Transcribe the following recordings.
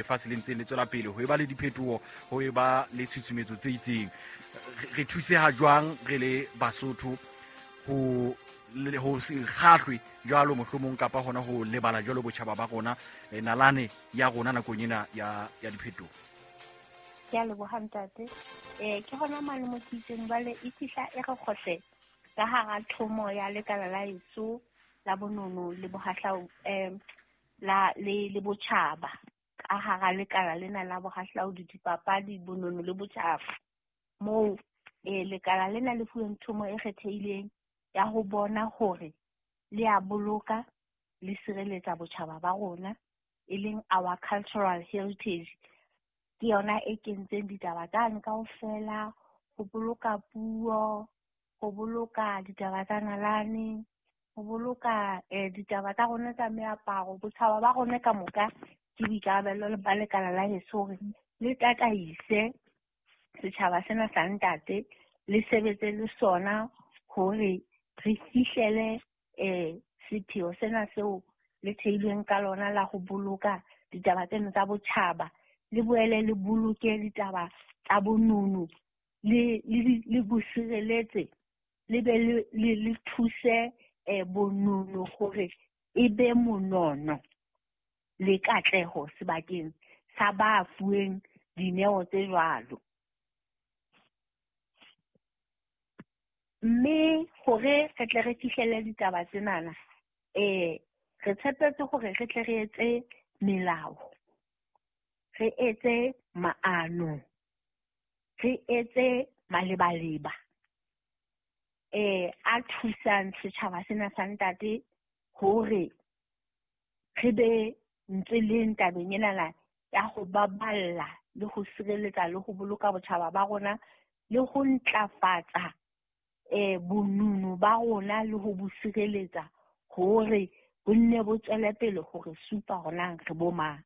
Lefatshe le ntseng le tswela pele ho eba le diphetoho, ho eba le tshutshumetso tse itseng. Re thuseha jwang re le Basotho ho se kgahlwe jwalo mohlomong kapa hona ho lebala jwalo botjhaba ba rona, nalane ya rona nakong ena ya diphetoho? Ke a leboha ntate. Ke hona mane mo ke itseng jwale e fihla e re kgohle ka hara thomo ya lekala la heso la bonono le bohahlau, la le botjhaba, ka hara lekala lena la bohahlaudi, dipapadi, bonono le botjhaba, moo lekala lena le fuweng thomo e kgethehileng ya ho bona hore le a boloka le sireletsa botjhaba ba rona, e leng our cultural heritage. Ke yona e kentseng ditaba tsane kaofela, ho boloka puo, ho boloka ditaba tsa nalane, ho boloka ditaba tsa rona tsa meaparo, botjhaba ba rona ka moka. Ke boikarabelo ba lekala la heso hore le tataise setjhaba sena sa ntate, le sebetse le sona hore re fihlele sepheo sena seo le theilweng ka lona la ho boloka ditaba tsena tsa botjhaba, le boele le boloke ditaba tsa bonono, le bo sireletse, le be le thuse bonono hore e be monono le katleho sebakeng sa ba fuweng dineo tse jwalo. Mme hore re tle re fihlelle ditaba tsenana, re tshepetse hore re tle re etse melao, re etse maano, re etse malebaleba a thusang setjhaba sena sa ntate hore re be ntse leng tabeng ena ya ho baballa le ho sireletsa le ho boloka botjhaba ba rona le ho ntlafatsa bonono ba rona le ho bo sireletsa hore bo nne bo tswele pele hore supa rona re bo mang.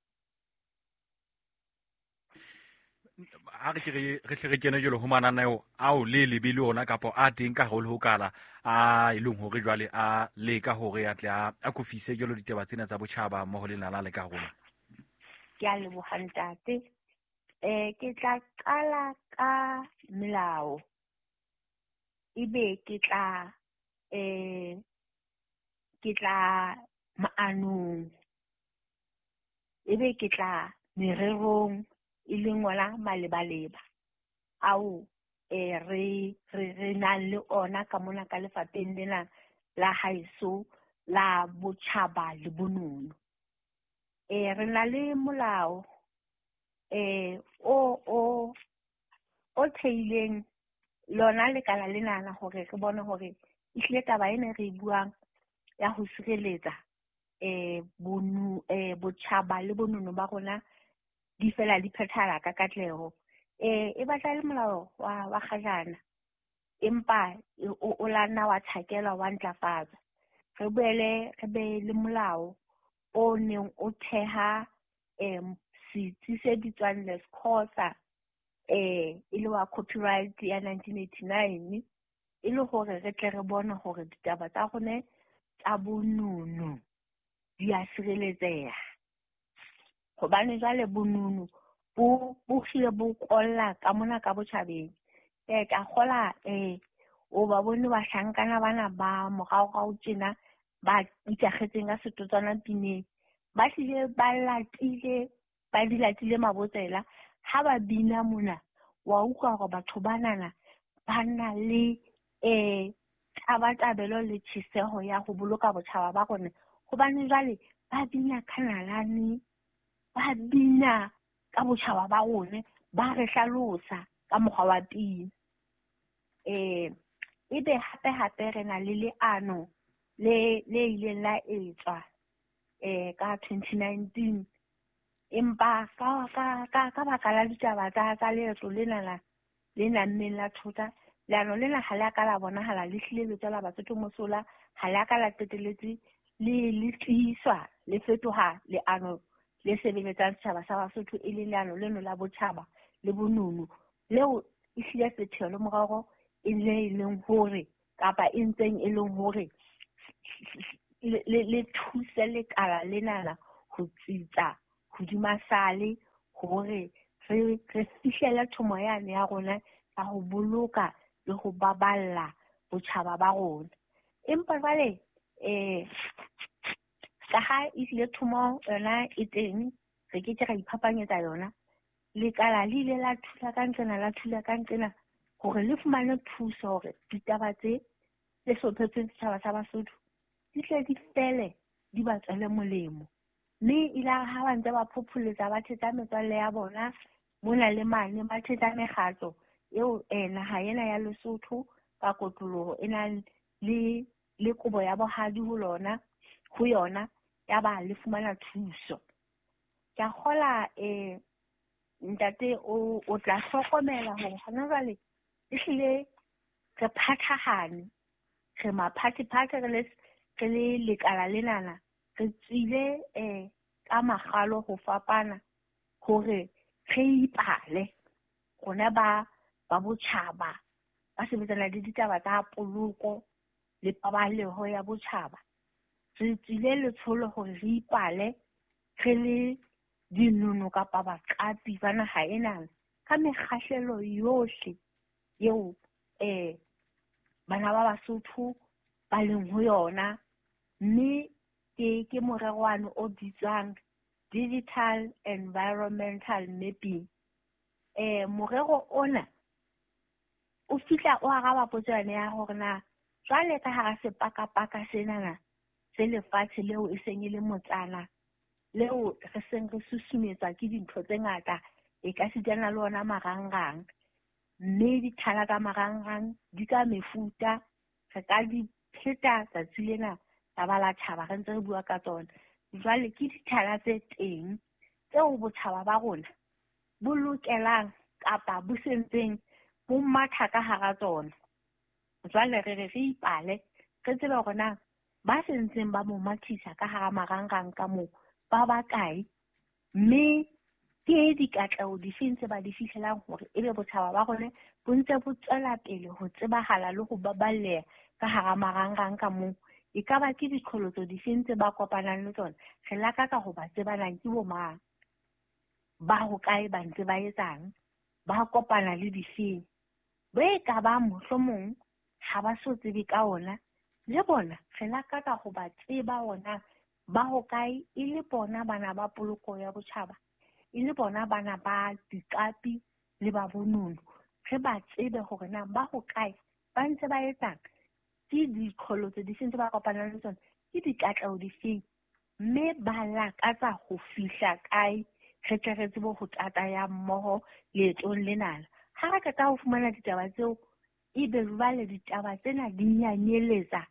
Ha re ke re hle re kene jwalo ho mananeo ao le lebe le ona kapa a teng ka haholo ho kala a e leng hore jwale a leka hore a tle a kofise jwalo ditaba tsena tsa botjhaba mmoho le nala le ka rona. Ke a leboha ntate. Ke tla qala ka melao, ebe ke tla maanong, ebe ke tla mererong, e leng ona malebaleba ao re nang le ona ka mona ka lefapheng lena la haeso la botjhaba le bonono. Re na le molao o theileng lona lekala lena hore re bone hore ehlile taba ena re e buang ya ho sireletsa botjhaba le bonono ba rona di fela di phethahala ka katleho. E batla le molao wa kgajana, empa o la nna wa tjhakelwa wa ntlafatsa. Re boele re be le molao o neng o theha setsi se bitswang LESCOSA, e le wa copyright ya 1989, e le hore re tle re bone hore ditaba tsa rona tsa bonono di a sireletseha. Hobane jwale bonono bo hlile bo kolla ka mona ka botjhabeng. Ka kgola o ba bone bahlankana bana ba moraorao tjena ba ikakgetseng ka setotswana pineng, ba hlile ba latile, ba di latile mabotsela. Ha ba bina mona wa utlwa hore batho banana ba na le tabatabelo le tjheseho ya ho boloka botjhaba ba rona. Hobane jwale ba bina ka nalane, ba bina ka botjhaba ba rona, ba re hlalosa ka mokgwa wa pina. Ebe hape hape re na le leano le ileng la etswa ka 2019, empa ka baka la ditaba tsa leeto lena le nammeng la thota, leano lena ha le a ka la bonahala le hlile le tswela Basotho mosola, ha le a ka la qeteletse le tiiswa, le fetoha leano le sebeletsang setjhaba sa Basotho, e leng leano leno la botjhaba le bonono leo ehlile sepheo le morero e le leng hore kapa e ntseng e leng hore le thuse lekala lenana ho tsitsa hodima sale, hore re fihlele thomo yane ya rona ya ho boloka le ho baballa botjhaba ba rona. Empa jwale ka ha ehlile thomo yona e teng, re ke ke ra iphapanyetsa yona. Lekala le ile la thula ka nqena la thula ka nqena hore le fumane thuso hore ditaba tse hlophetsweng setjhaba sa Basotho di tle di fele di ba tswele molemo. Mme ile ha ba ntse ba phopholetsa ba thetsa metswalle ya bona mona le mane, ba thetsa mekgatlo eo naha ena ya Lesotho ka kotloloho e nang le kobo ya bohadi ho lona ho yona, ya ba le fumana thuso. Ke a kgola ntate o tla hlokomela hore hona jwale ehlile re phathahane, re maphathephathe re le lekala lenana, re tswile ka makgalo ho fapana hore re ipale rona ba botjhaba ba sebetsana le ditaba tsa poloko le paballeho ya botjhaba. Re tswile letsholo hore re ipale re le dinono kapa baqapi ba naha ena ka mekgahlelo yohle eo bana ba Basotho ba leng ho yona. Mme ke morerwane o bitswang Digital Environmental Mapping. Morero ona o fihla o araba potso yane ya hore na jwale ka hara sepakapaka senana se lefatshe leo e seng e le motsana leo re seng re susumetswa ke dintho tse ngata, e ka sitana le ona marangrang, mme dithala tsa marangrang di ka mefuta, re ka di pheta tsatsi lena la ba la tjhaba re ntse re bua ka tsona. Jwale ke dithala tse teng tseo botjhaba ba rona bo lokelang kapa bo sentseng bo matha ka hara tsona. Jwale re re ipale re tsebe hore na ba sentseng ba mo mathisa ka hara marangrang ka moo ba bakae, mme ke dikatleho difeng tse ba di fihlelang hore ebe botjhaba ba rona bo ntse bo tswela pele ho tsebahala le ho baballeha ka hara marangrang ka moo. E ka ba ke diqholotso difeng tse ba kopanang le tsona, re lakatsa ho ba tsebanang ke bo mang, ba hokae, ba ntse ba etsang, ba kopana le difeng. Bo e ka ba mohlomong ha ba so tsebe ka ona, le bona re lakatsa ho ba tseba ona ba hokae, e le bona bana ba poloko ya botjhaba, e le bona bana ba diqapi le ba bonono. Re ba tsebe hore na ba hokae, ba ntse ba etsang, ke diqholotso difeng tse ba kopanang le tsona, ke dikatleho difeng, mme ba lakatsa ho fihla kae, re tle re tsebe ho tataya mmoho leetong lenana. Ha re qeta ho fumana ditaba tseo, ebe jwale ditaba tsena di nyanyeletsa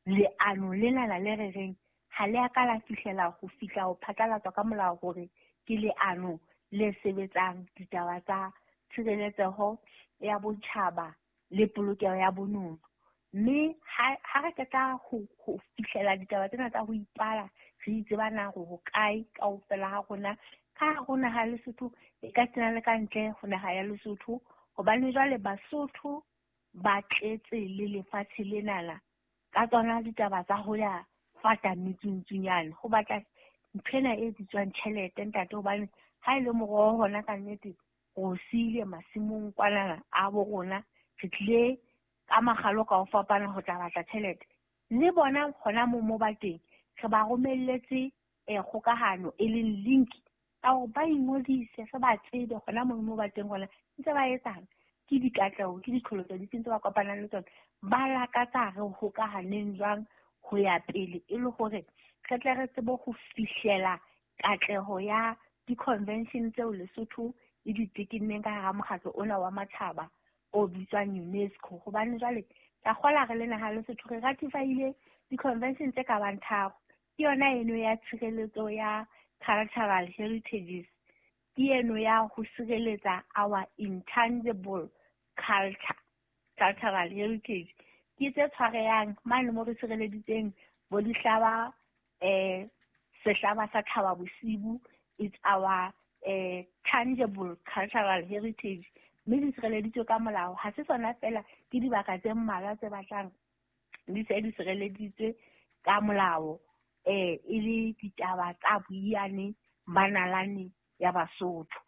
leano lenana le re reng ha le a ka la fihlela ho fihla ho phatlalatswa ka molao hore ke leano le sebetsang ditaba tsa tshireletseho ya botjhaba le polokeho ya bonono. Mme ha re qeta ho fihlela ditaba tsena tsa ho ipala, re itseba na hore hokae kaofela ha rona ka hare ho naha ya Lesotho, e ka sena le ka ntle ho naha ya Lesotho, hobane jwale Basotho ba tletse le lefatshe lenana ka tsona ditaba tsa ho ya fata metsuntsunyane, ho batla nthwena e bitswang tjhelete ntate, hobane ha e le moroho hona ka nnete ro siile masimong kwanana a bo rona, re tlile ka makgalo ka ho fapana ho tla batla tjhelete. Le bona hona moo ba teng, re ba romelletse kgokahano e leng link ka hore ba ingodise, re ba tsebe hona moo ba teng hona ntse ba etsang, ke dikatleho, ke diqholotso difeng tse ba kopanang le tsona, ba lakatsa re hokahaneng jwang ho ya pele, e le hore re tle re tsebe ho fihlela katleho ya di-convention tseo Lesotho e di tekenneng ka hara mokgatlo ona wa matjhaba o bitswang UNESCO. Hobane jwale ka kgola re le naha Lesotho re ratifile di-convention tse ka bang 3. Ke yona eno ya tshireletso ya cultural heritages, ke eno ya ho sireletsa our intangible culture, cultural heritage, ke tse tshwarehang mane mo re sireleditseng bo dihlaba, sehlaba sa Thaba Bosibu, it's our tangible cultural heritage, mme di sireleditswe ka molao. Ha se sona fela, ke dibaka tse mmalwa tse batlang di se di sireleditswe ka molao, e le ditaba tsa boiyane ba nalane ya Basotho.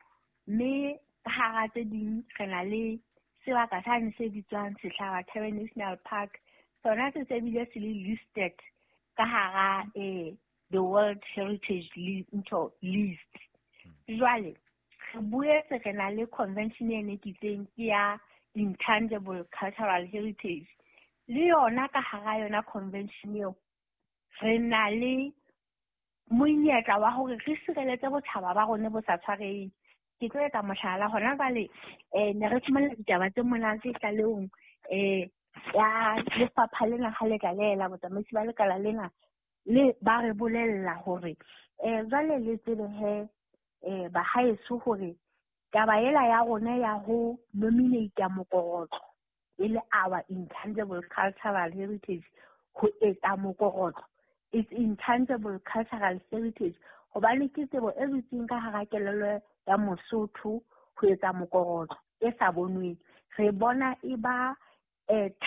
Mme ka hara tse ding re na le sebaka sane se bitswang Sehlaba Thebe National Park. Sona se se bile se le listed ka hara the World Heritage List. Jwale re boetse re na le convention e ne ke itseng ke ya Intangible Cultural Heritage. Le yona ka hara yona convention eo re na le monyetla wa hore re sireletse botjhaba ba rona bo sa tshwareheng. Ke tlo etsa mohlala hona jwale, ne re fumana ditaba tse monate tlalehong ya lefapha lena ha le tlalela botsamaisi ba lekala lena le ba re bolella hore jwale le tsebe he bahaeso hore taba ela ya rona ya ho nominate mokorotlo e le our intangible cultural heritage, ho etsa mokorotlo it's intangible cultural heritage hobane ke tsebo e dutseng ka hara kelello ya Mosotho ho etsa mokorotlo e sa bonweng. Re bona e ba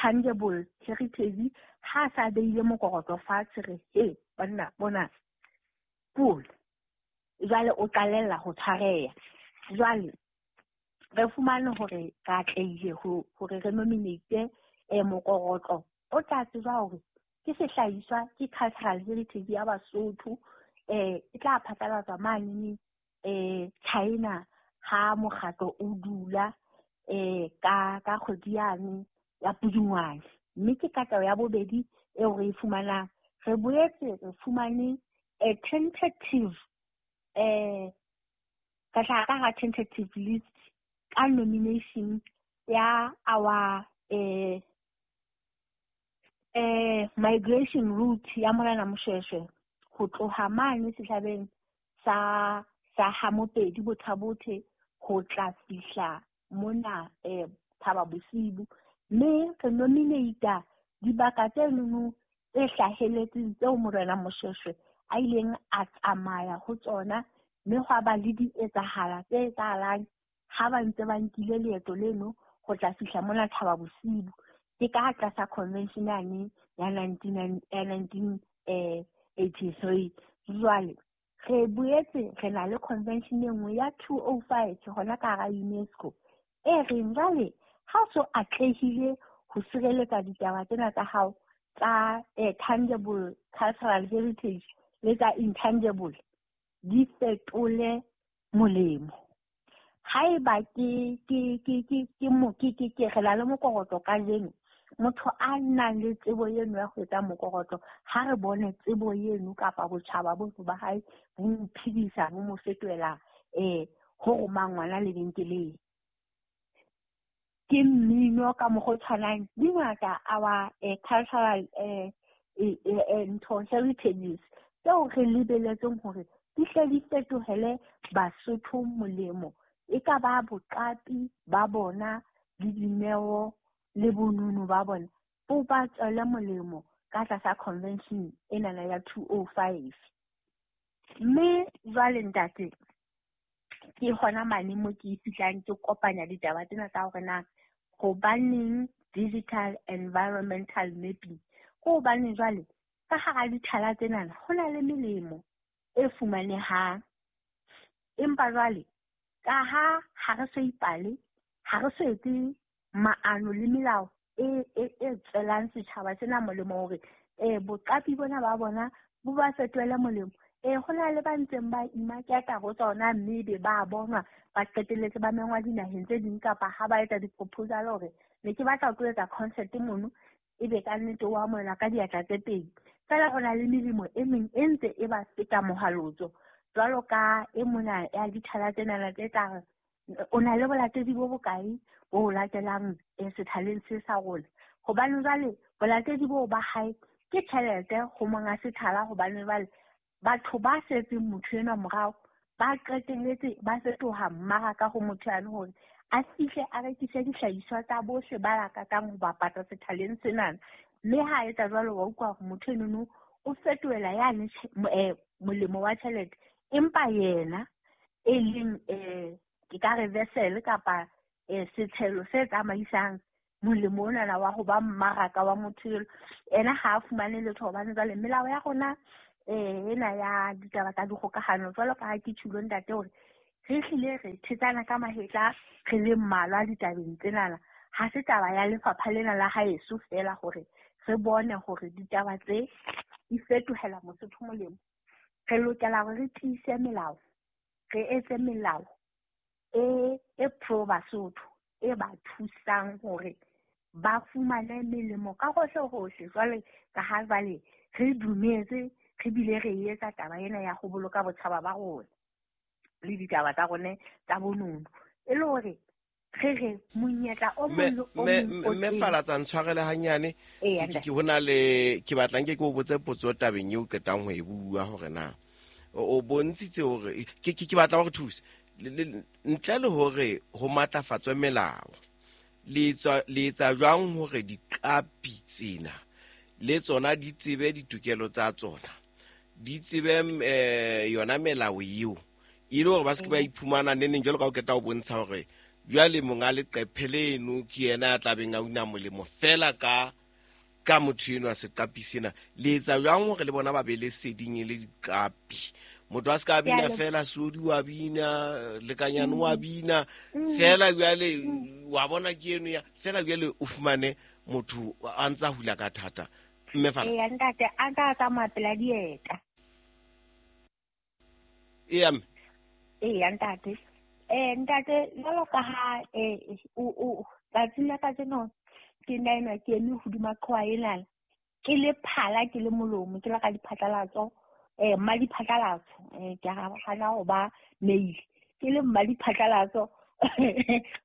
tangible heritage ha sa beile mokorotlo fatshe re he banna bona pula jwale o qalella ho tshwareha. Jwale re fumane hore re atlehile hore re nominate mokorotlo o tla tsejwa hore ke sehlahiswa ke cultural heritage ya Basotho, e tla phatlalatswa mane China ha mokgatlo o dula ka kgwedi yane ya Pudungwane. Mme ke katleho ya bobedi eo re e fumanang. Re boetse re fumane a tentative ka tla ka tentative list ka nomination ya our migration route ya Morena Moshoeshoe ho tloha mane sehlabeng sa ha Mopedi Botha-Bothe ho tla fihla mona Thaba Bosiu. Mme re nominate dibaka tse nono tse hlaheletseng tseo Morena Moshoeshoe a ileng a tsamaya ho tsona, mme hwa ba le dietsahala tse etsahalang ha ba ntse ba nkile leeto leno ho tla fihla mona Thaba Bosiu. Ke ka tlasa convention yane ya 1983. Jwale re boetse re na le convention e nngwe ya 205 hona ka hara UNESCO e reng jwale ha o so atlehile ho sireletsa ditaba tsena tsa hao tsa tangible cultural heritage le tsa intangible, di fetole molemo. Haeba ke re na le mokorotlo kajeno, motho a nang le tsebo eno ya ho etsa mokorotlo, ha re bone tsebo eno kapa botjhaba bono ba hae bo mo phedisa, bo mo fetohela ho roma ngwana lebenkeleng. Ke mmino ka mokgwa o tshwanang, di ngata our cultural ntho heritages tseo re lebeletseng hore di hle di fetohele Basotho molemo, e ka ba boqapi ba bona le dineo le bonono ba bona bo ba tswele molemo ka tlasa convention enana ya 205. Mme jwale ntate, ke hona mane mo ke fihlang ke kopanya ditaba tsena tsa hore na hobaneng digital environmental mapping, ke hobane jwale ka hara dithala tsenana ho na le melemo e fumanehang, empa jwale ka ha re so ipale, ha re so etse maano le melao e tswelang setjhaba sena molemo hore boqapi bona ba bona bo ba fetohele molemo. Ho na le ba ntseng ba imaketa ho tsona, mme be ba bonwa ba qetelletse ba mengwa dinaheng tse ding, kapa ha ba etsa di-proposal hore ne ke batla ho tlo etsa concert mono, ebe ka nnete o amohelwa ka diatla tse pedi. Feela ho na le melemo e meng e ntse e ba feta mohalotso, jwalo ka e mona ya dithala tsenana tse tla re o na le bolatedi bo bokae bo latelang sethaleng se sa rona. Hobane jwale bolatedi boo ba hae ke tjhelete ho monga sethala, hobane jwale batho ba setseng motho enwa morao ba qetelletse ba fetoha mmaraka ho motho yane hore a fihle a rekise dihlahiswa tsa bohle ba lakatsang ho bapatsa sethaleng senana. Mme ha etsa jwalo wa utlwa hore motho enono o fetohela yane molemo wa tjhelete, empa yena e leng ke ka re vessel kapa setshelo se tsamaisang molemo onana wa ho ba mmaraka wa motho eno, ena ha a fumane letho. Hobane jwale melao ya rona ena ya ditaba tsa dikgokahano, jwalo ka ha ke tjhulo ntate hore re hlile re thetsana ka mahetla re le mmalwa ditabeng tsenana. Ha se taba ya lefapha lena la haeso fela hore re bone hore ditaba tse di fetohela Mosotho molemo. Re lokela hore re tiise melao, re etse melao e pro Basotho e ba thusang hore ba fumane melemo ka hohle hohle. Jwale ka ha jwale re dumetse re bile re etsa taba ena ya ho boloka botjhaba ba rona le ditaba tsa rona tsa bonono, e le hore re re monyetla o mong le o mong o Mme teng. Falatsa ntshwarele hanyane. Eya, Ke ntate. ke hona le ke batlang ke o botse potso tabeng eo qetang ho e bua hore na o bontshitse hore ke batla hore thuse ntle le hore ho matlafatswe melao, le etsa jwang hore diqapi tsena le tsona di tsebe ditokelo tsa tsona, di tsebe yona melao eo, e le hore ba se ke ba iphumana neneng jwalo ka o qeta ho bontsha hore jwale monga leqephe leno ke yena a tlabeng a una molemo fela ka motho eno a seqapi sena. Le etsa jwang hore le bona ba be le seding e le diqapi? Motho a se ka bina fela, Sodi wa bina, Lekanyane wa bina fela, jwale wa bona ke eno ya fela, jwale o fumane motho a ntsa hula ka thata. Mme Falatsa. Eya ntate, a ka tsamaya pela dieta. Eya mme. Eya ntate. Ntate, jwalo ka ha o tsatsing la kajeno ke nna enwa ke eme hodima qhoa enana, ke le phala, ke le molomo, ke le ka diphatlalatso, mma diphatlalatso, ke a hana ho ba mail, ke le mma diphatlalatso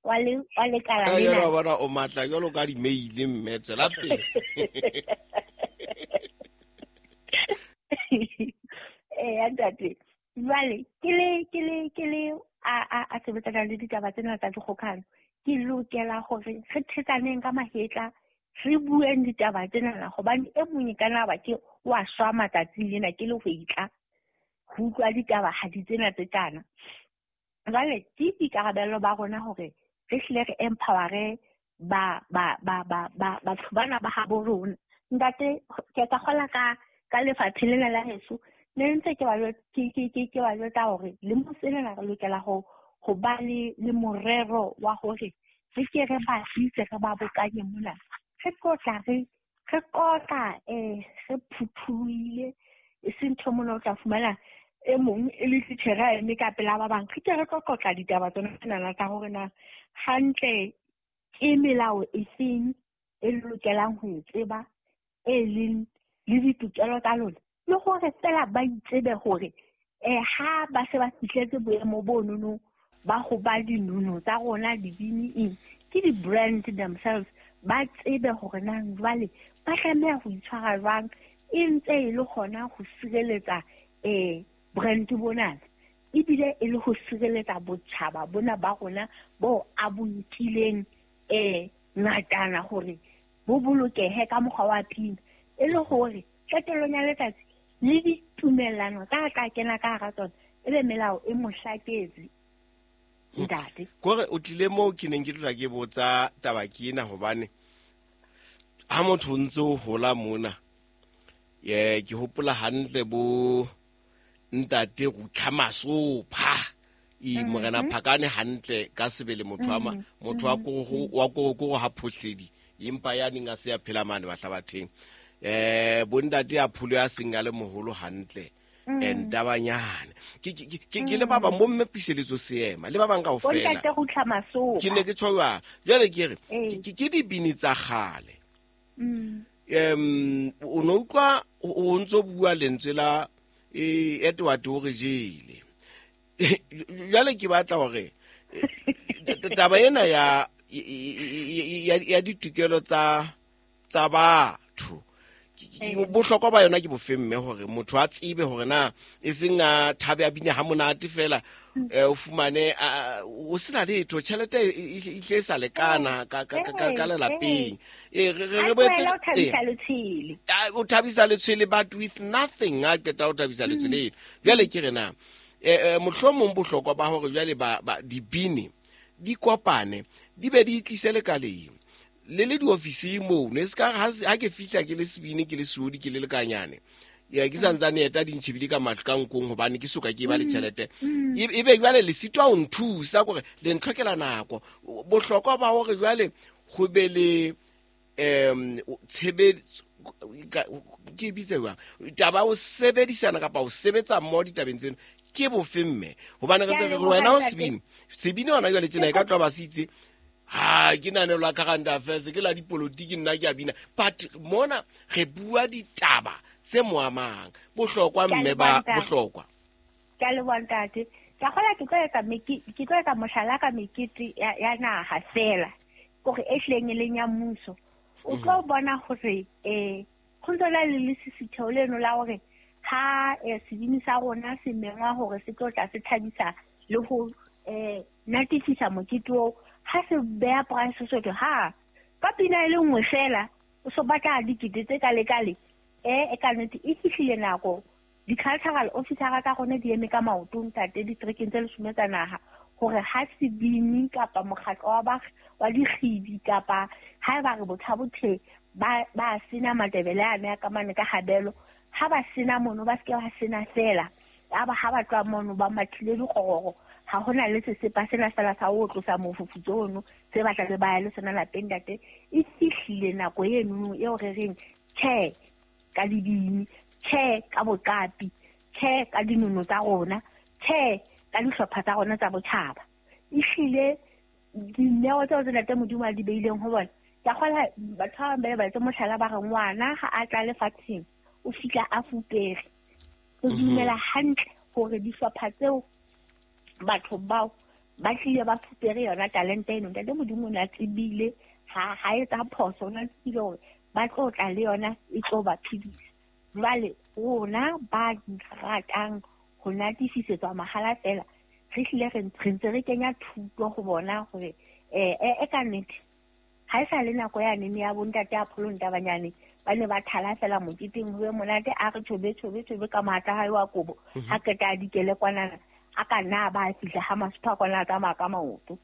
wa lekala Ka lena. jwalo wa bona o matla jwalo ka di-mail, mme tswela pele. Eya ntate, jwale ke le a sebetsana le ditaba tsena tsa dikgokahano, ke lokela hore re thetsaneng ka mahetla, re bueng ditaba tsena, hobane e mong e ka nna ba ke wa shwa matsatsing lena ke le ho itla ho utlwa ditaba ha di tsena tse tjana. Jwale ke boikarabelo ba rona hore re hlile re empowere batho bana ba habo rona. Ntate, ke tla kgola ka lefatshe lena la heso, ne ntse ke ba ke ba jwetsa hore le mo sena re lokela ho ba le morero wa hore re ke re ba tlise re ba bokanye mona, re tlotla re qotla re phuthuile, e seng ntho mona o tla fumana e mong e le titjhere a eme ka pela ba bang. Re ke re tlo qotla ditaba tsona tsena tsa hore na hantle ke melao e feng e lokelang ho e tseba, e leng le ditokelo tsa lona, le hore fela ba itsebe hore ha ba se ba fihletse boemo bo nono ba ho ba dinono tsa rona dibini eng, ke di-brand themselves, ba tsebe hore na jwale ba tlameha ho itshwara jwang, e ntse e le hona ho sireletsa brand bonana, ebile e le ho sireletsa botjhaba bona ba rona bo a bo nkileng ngatana hore bo bolokehe ka mokgwa wa pina, e le hore qetellong ya letsatsi le ditumellano tsa tla kena ka hara tsona e be melao e mohlaketse. Ntate, kore o tlile moo ke neng ke tla ke botsa taba ke ena, hobane ha motho o ntse o hola mona, ke hopola hantle bo ntate Rutlha Masopha, Morena Phakane hantle ka sebele, motho wa motho wa korokoro ha phohledi, empa ya neng a se a phela mane Mahlabatheng. Bo ntate a pholo ya seng a le moholo hantle, ntabanyane ke le ba bang bo mme Puseletso Seema le ba bang kaofela. Bo ntate Rutlha Masopha. Ke ne ke tjho jwalo. Jwale ke re ke dibini tsa kgale. O no utlwa o ntso bua lentswe la Edward o re jele. Jwale ke batla hore taba ena ya ditokelo tsa batho, bohlokwa ba yona ke bofe mme, hore motho a tsebe hore na e seng a thabe a bine ha monate fela, o fumane o sena letho, tjhelete e tle e sa lekana ka lelapeng. Re boetse o thabisa letshwele but with nothing, a qeta ho thabisa letshwele. Jwale ke re na mohlomong bohlokwa ba hore jwale ba dibini di kopane di be di tlise lekaleng le le diofising mono, e se ka ha ke fihla ke le sebini, ke le Seodi, ke le Lekanyane, Ya ke santsane eta di ntšhebile ka mahlo ka nkong gobane ke soka ke ba le tšhelete. E be jwale le sitwa ho nthusa kore le ntlhokela nako. Bohlokwa ba hore jwale go be le tshebetso ke bitse jwang taba o sebedisana kapa o sebetsa mmoho ditabeng tseno ke bofe mme gobane re tse re wena o sebini sebini hona jwale tjena e ka tloha ba se itse ha ke nanelo la current affairs ke la dipolotiki nna ke a bina but mona re bua ditaba tse mo amang bohlokwa mme ba bohlokwa. Ke a leboha ntate. Ke a kgola ke tlo etsa mohlala ka mekete ya naha fela kore e hlileng e leng ya mmuso. O tlo bona hore go ntse na le lesisitheo leno la hore ha sebini sa rona se mengwa hore se tlo tla se thabisa le ho natefisa mokete oo, ha se beha price soto ha ka pina e le nngwe fela o so batla dikete tse kale kale e ka nnete e fihlile nako di-cultural officer tsa rona di eme ka maoto ntate ditrekeng tse 10 tsa naha hore ha sebini kapa mokgatlo wa dikgibi kapa ha eba re bothabothe ba sena Matebele a ne a ka mane ka habelo ha ba sena mono ba seke ba sena fela aba ha ba tloha mono ba mathile dikgororo ha hona le sesepa sena fela sa ho tlosa mofufutso ono se batla le ba ya le sona lapeng ntate. E fihlile nako eno eo re reng tjhe ka dibini, tjhe ka boqapi, tjhe ka dinono tsa rona, tjhe ka dihlopha tsa rona tsa botjhaba. Ehlile dineo tseo tse ntate Modimo a di beileng ho bona ke a kgola batho ba bang ba etse mohlala ba re ngwana ha a tla lefatsheng o fihla a fupere. Re dumela hantle hore dihlopha tseo batho bao ba tlile ba fupere yona talente eno. Ntate Modimo o ne a tsebile ha etsa phoso, o ne a tsebile hore ba tlo tla le yona e tlo ba phedisa. Jwale rona ba ratang ho natefisetswa mahala fela re hlile re ntse re kenya thuto ho bona hore e ka nnete ha e sa le nako ya nene ya bontate a pholong tabanyane ba ne ba thala fela moketeng ho be monate a re chobe chobe chobe ka matla hae wa kobo ha qeta a dikele kwanana a ka nna ba fihla ha masupha kwana a tsamaya ka maoto.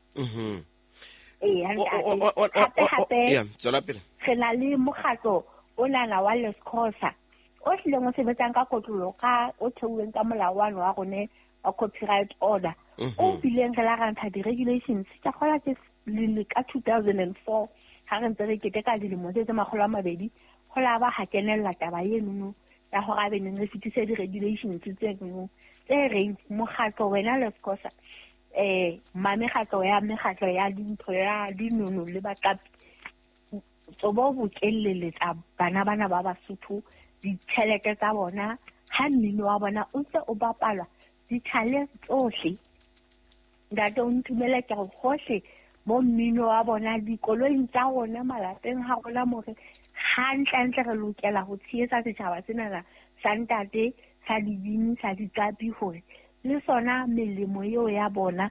Hape tswela pele. Re na le mokgatlo o nana wa Lescosa o hlileng o sebetsang ka kotlolo ka o theuweng ka molao wa wa rone wa copyright order o bileng re la ra ntsha di-regulations ke kgola ke le ka 2004 ha re ntse re keteka dilemo tse 200 ho la ba ha kenella taba eno ya hore a be neng re fetise di-regulations tse nngwe tse reng mokgatlo wena Lescosa mamekgatlo ya mekgatlo ya dintho ya dinono le baqapi tsobo bokelleletsa bana bana ba Basotho ditjhelete tsa bona ha mmino wa bona o ntse o bapalwa dithaleng tsohle. Ntate o ntumele ke re hohle mo mmino wa bona dikoloing tsa rona malapeng ha rona more hantlentle re lokela ho tshehetsa setjhaba sena sa ntate sa dibini sa diqapi hore le sona melemo eo ya bona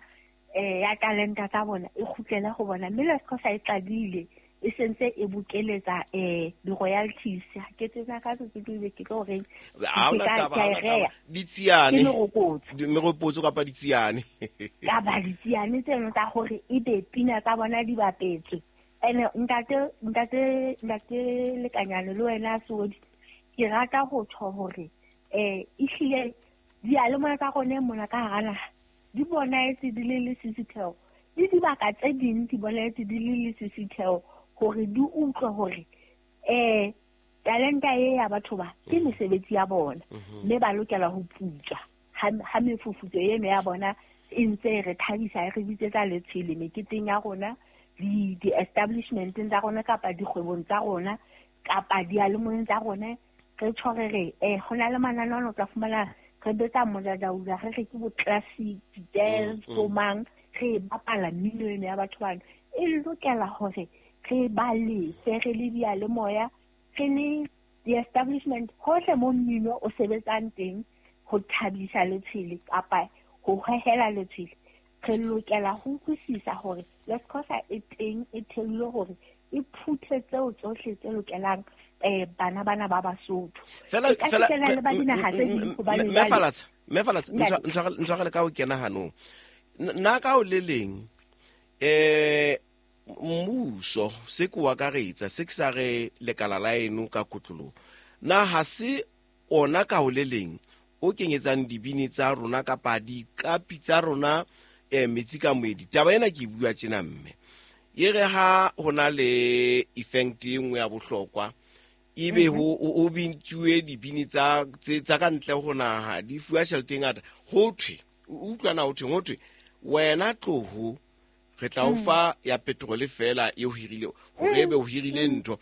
ya talenta tsa bona e kgutlele ho bona. Mme Lescosa e qadile e sentse e bokeletsa di-royalties. Ha ke tsena ka Sesotho ebe ke tlo reng ditsiane merokotso kapa ditsiane kapa ditsiane tseno tsa hore ebe pina tsa bona di bapetswe. Ene ntate Lekanyane le wena Sodi ke rata ho tjho hore ehlile diyalemoya tsa rona mona ka hara naha di bonahetse di le lesisitheo le dibaka tse ding di bonahetse di le lesisitheo hore di utlwe hore talenta e ya batho ba ke mesebetsi ya bona mme ba lokela ho putswa ha mefufutso eno ya bona e ntse re thabisa e re bitsetsa letshwele meketeng ya rona di-establishmenteng tsa rona kapa dikgwebong tsa rona kapa diyalemoyeng tsa rona. Re tjho re re ho na le mananeo ano tla fumana re betsa modadaula re re ke bo classic jazz bo mang re bapala mmino eno ya batho bano. E lokela hore re ba lefe re le diyalemoya re le di-establishment hohle mo mmino o sebetsang teng ho thabisa letshwele kapa ho hohela letshwele. Re lokela ho utlwisisa hore Lescosa e teng e theilwe hore e phuthe tseo tsohle tse lokelang bana bana ba Basotho. Fela fela le ba dinaha tse ding hobane mme Falatsa ntshwarele ka ho kena hanong nna ka o le leng mmuso se ke o akaretsa se ke sa re lekala la eno ka kotloloho na ha se ona ka ho le leng o kenyetsang dibini tsa rona kapa diqapi tsa rona metsi ka moedi. Taba ena ke bua tjena mme e re ha ho na le effect e nngwe ya bohlokwa ebe ho bintsuwe dibini tsa ka ntle ho naha di fuwa tjhelete e ngata, ho thwe o utlwana ho thwe wena tloho re tla o fa ya petrol fela e o hirile hore ebe o hirile ntho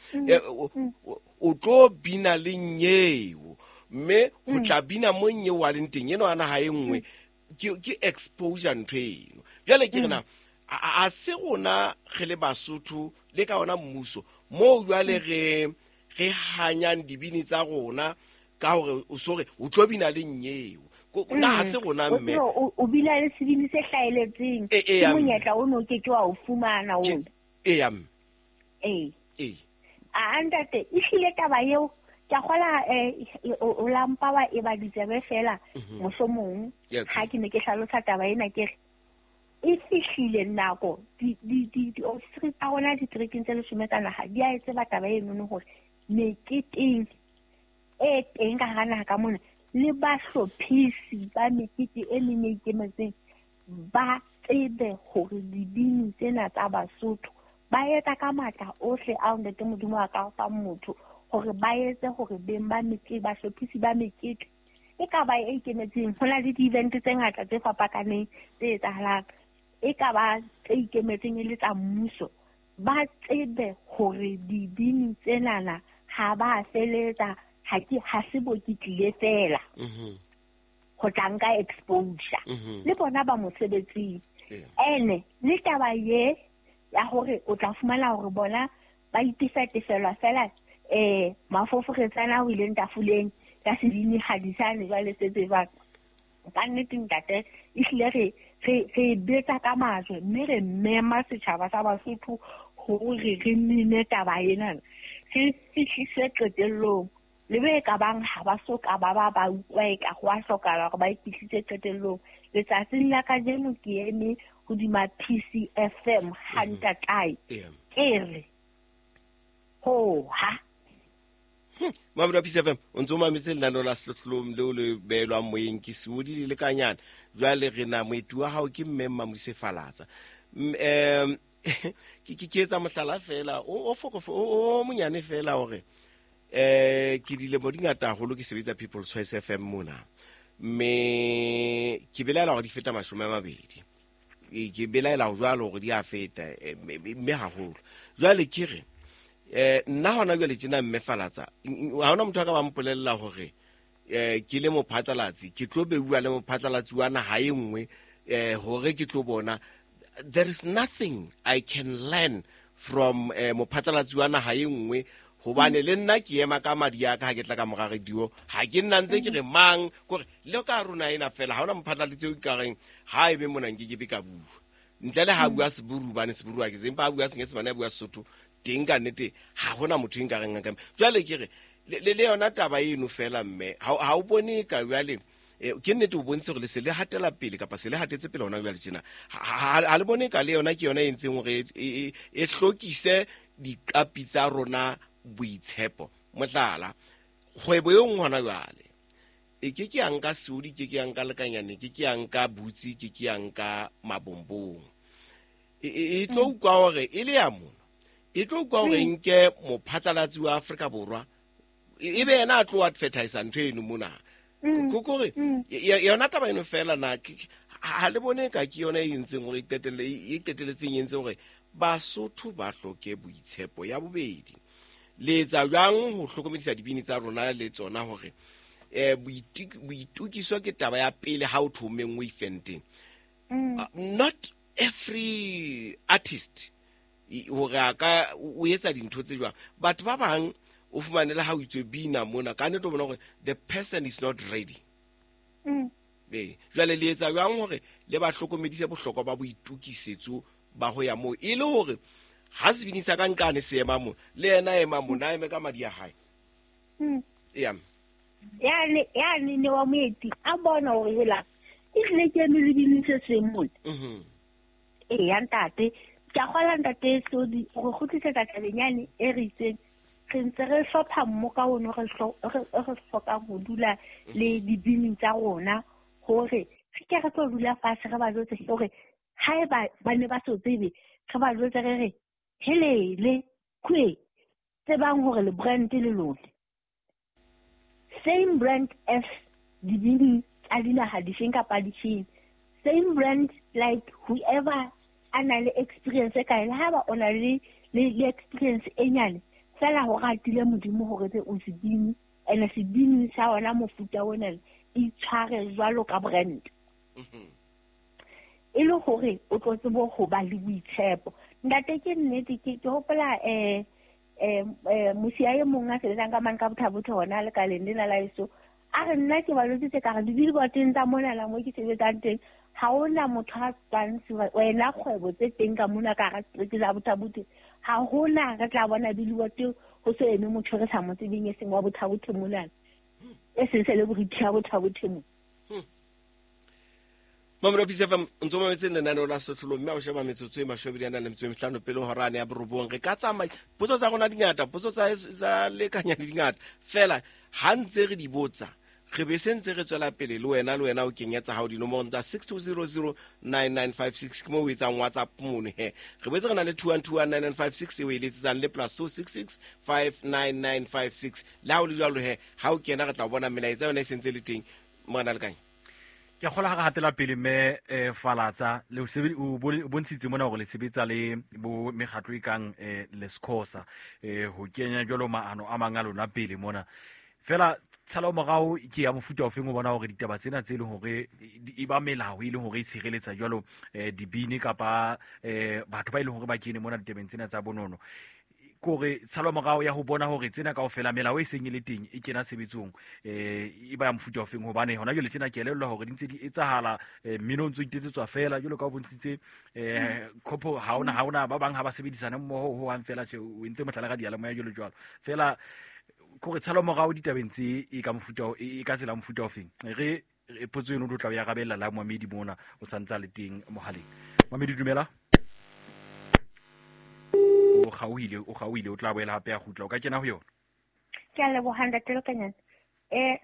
o tlo bina le nyeo mme ho tla bina mo nyeo wa leng teng eno ana ha e nngwe ke exposure ntho eno. Jwale ke rena a se rona re le Basotho le ka ona mmuso moo jwale re hanyang dibini tsa rona ka hore o sore o tlo bina le nyeo na ha se rona mme o bina le sebini se hlaeletseng ke monyetla o no ke ke wa o fumana o a ntate e hlile taba eo ke a kgola o lampa wa e ba ditsebe fela mohlomong ha ke ne ke hlalosa taba ena ke re e fihlile nako di-ofisiri tsa rona diterekeng tse 10 tsa naha di a e tseba taba enono hore meketeng e teng ka hara naha ka mona le bahlophisi ba mekete e meng e ikemetseng ba tsebe hore dibini tsena tsa Basotho ba etsa ka matla ohle ao Ntate Modimo a ka fang motho hore ba etse hore beng ba mekete bahlophisi ba mekete e ka ba e ikemetseng. Ho na le di-event tse ngata tse fapakaneng tse etsahalang e ka ba tse ikemetseng e le tsa mmuso, ba tsebe hore dibini tsenana ha ba feletsa ha se bo ke tlile fela ho tla nka exposure le bona ba mosebetsing. Ene le taba ye ya hore o tla fumana hore bona ba itefelwa fela mafoforetsana ho ileng tafoleng ka sebini hadisane jwale se tsebang ka nnete ntate ehlile re betsa ka majwe mme re mema setjhaba sa Basotho hore re nene taba ena re fihlise qetellong le be ka bang ha ba so ka ba ba utlwa e ka go a hlokahala hore ba e fihlise qetellong. Letsatsing la kajeno ke eme hodima PCFM ha ntatae ke re ho ha Mamela PCFM o ntso mametse lenaneo la Sehlohlolong leo le beelwang moyeng ke Seodi le Lekanyana. Jwale re na moeti wa hao ke mme Mmamoise Falatsa. Ke etsa mohlala fela o monyane fela hore ke dilemo di ngata haholo ke sebetsa People's Choice FM mona mme ke belaela hore di feta 20 ke belaela jwalo hore di a feta mme haholo. Jwale ke re nna hona jwale tjena mme Falatsa ha hona motho a ka ba mpolella hore ke le mophatlalatsi ke tlo beuwa le mophatlalatsi wa naha e nngwe hore ke tlo bona. There is nothing I can learn from mophatlalatsi wa naha e nngwe hobane le nna ke ema ka madi a ka ha ke tla ka mora radio ha ke nna ntse ke re mang kore le ka rona ena fela ha hona mophatlalatsi o ka reng ha ebe mona nke ke be ka bua ntle le ha bua Seburu bane Seburu ha ke sempa ha bua Senyesemane ha bua Sesotho teng ka nnete ha hona motho e nka reng ka jwale ke re le yona taba eno fela mme ha o bone ka jwale ke nnete o bontshe hore le se le hatela pele kapa se le hatetse pele hona jwale tjena ha le bone ka le yona ke yona e entseng hore e hlokise diqapi tsa rona boitshepo. Mohlala kgwebo e nngwe hona jwale e ke ke ya nka Seodi, ke ke ya nka Lekanyane, ke ke ya nka Butsi, ke ke ya nka Mabombong e tlo utlwa hore e le ya mona e tlo utlwa hore nke mophatlalatsi wa Afrika Borwa e be yena a tlo advertise ntho eno mona kore yona taba eno fela na ha le bone ka ke yona e entseng hore e qetelletseng e entse hore Basotho ba hloke boitshepo. Ya bobedi, le etsa jwang ho hlokomedisa dibini tsa rona le tsona hore boitukiso ke taba ya pele ha o thomeng o ifenteng. Not every artist hore a ka o etsa dintho tse jwang. Batho ba bang o fumane le ha o itswe bina mona ka nnete o bona hore the person is not ready. Jwale le etsa jwang hore le ba hlokomedise bohlokwa ba boitukisetso ba ho ya moo e le hore ha sebini sa ka nkane se ema mo le yena ema mo na eme ka madi a hae. Ya ne wa moeti a bona hore hela e tle ke eme le bini se seng mona. Ya ntate ke a kgola ntate Sodi go kgutlisetsa tabeng yane e re itseng Re ntse re hlopha mmoka ono re hlokang ho dula le dibini tsa rona hore re ke re tlo dula fatshe re ba jwetse hore haeba ba ne ba so tsebe, re ba jwetse re re helele kwe tsebang hore le brand le lona. Same brand as dibini tsa dinaha difeng kapa difeng. Same brand like whoever a na le experience e kae, le haeba o na le experience e nyane, fela ho ratile Modimo hore be o sebini, ene sebini sa ona mofuta ona itshware jwalo ka brand. E le hore o tlo tsebe ho ba le boitshepo. Ntate ke nnete ke hopola mosia e mong a sebetsang ka mane ka Botha-Bothe hona lekaleng lena la heso, a re nna ke ba jwetsitse ka re di-billboardeng tsa mona la mo ke sebetsang teng, ha hona motho a tswang wena kgwebo tse teng ka mona ka hara setereke sa Botha-Bothe, ha hona re tla bona billboard ho so eme motho re sa mo tsebeng e seng wa Botha-Bothe mona, e seng celebrity ya Botha-Bothe mona. Mamelodi Peace FM ntse mametse lenaneo la Sehlohlolong, mme ha o sheba metsotso e 25 pele hora ya 9 re ka tsamaya. Potso tsa rona di ngata, potso tsa lekanya di ngata, fela ha ntse re di botsa re be se ntse re tswela pele le wena o kenyetsa hao dinomorong tsa 62009956 ke moo o etsang WhatsApp mono he. Re boetse re na le 21219956 eo e letsetsang le +266 59956. Le ha o le jwalo he, ha o kena re tla bona melaetsa yona e sentse le teng. Morena Lekanya, ke kgola ha re hatela pele mme Falatsa le o bontshitse mona hore le sebetsa le bo mekgatlo e kang Lesikhosa ho kenya jwalo maano a mang a lona pele mona. Fela tshalo morao ke ya mofuta ofeng o bona hore ditaba tsena tse leng hore e ba melao e leng hore e tshireletsa jwalo dibini kapa batho ba e leng hore ba kene mona ditabeng tsena tsa bonono, kore tshalo morao ya ho bona hore tsena kaofela melao e seng e le teng e kena tshebetsong e ba ya mofuta ofeng, hobane hona jwale tjena ke elellwa hore di ntse di etsahala, mmino o ntso itetsetswa fela jwalo ka o bontshitse khopo ha ona ba bang ha ba sebedisana mmoho ho hang fela tje o entse mohlala ka diyalemoya jwalo jwalo fela. Kore tshalo morao ditabeng tse e ka mofuta e ka tsela mofuta ofeng, re potso eno o tla ya rabella la Moamedi mona o santsa le teng mohaleng. Moamedi dumela. O kgaohile o tla boela hape a kgutla, o ka kena ho yona. Ke a leboha ntate Lekanyana.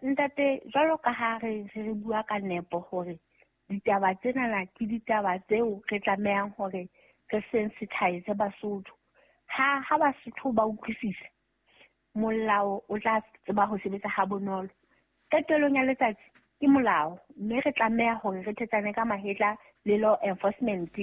Ntate, jwalo ka ha re bua ka nepo hore ditaba tsena ke ditaba tseo re tlamehang hore re sensitize Basotho. Ha Basotho ba utlwisisa, molao o tla tseba ho sebetsa ha bonolo. Qetellong ya letsatsi ke molao, mme re tlameha hore re thetsane ka mahetla le law enforcement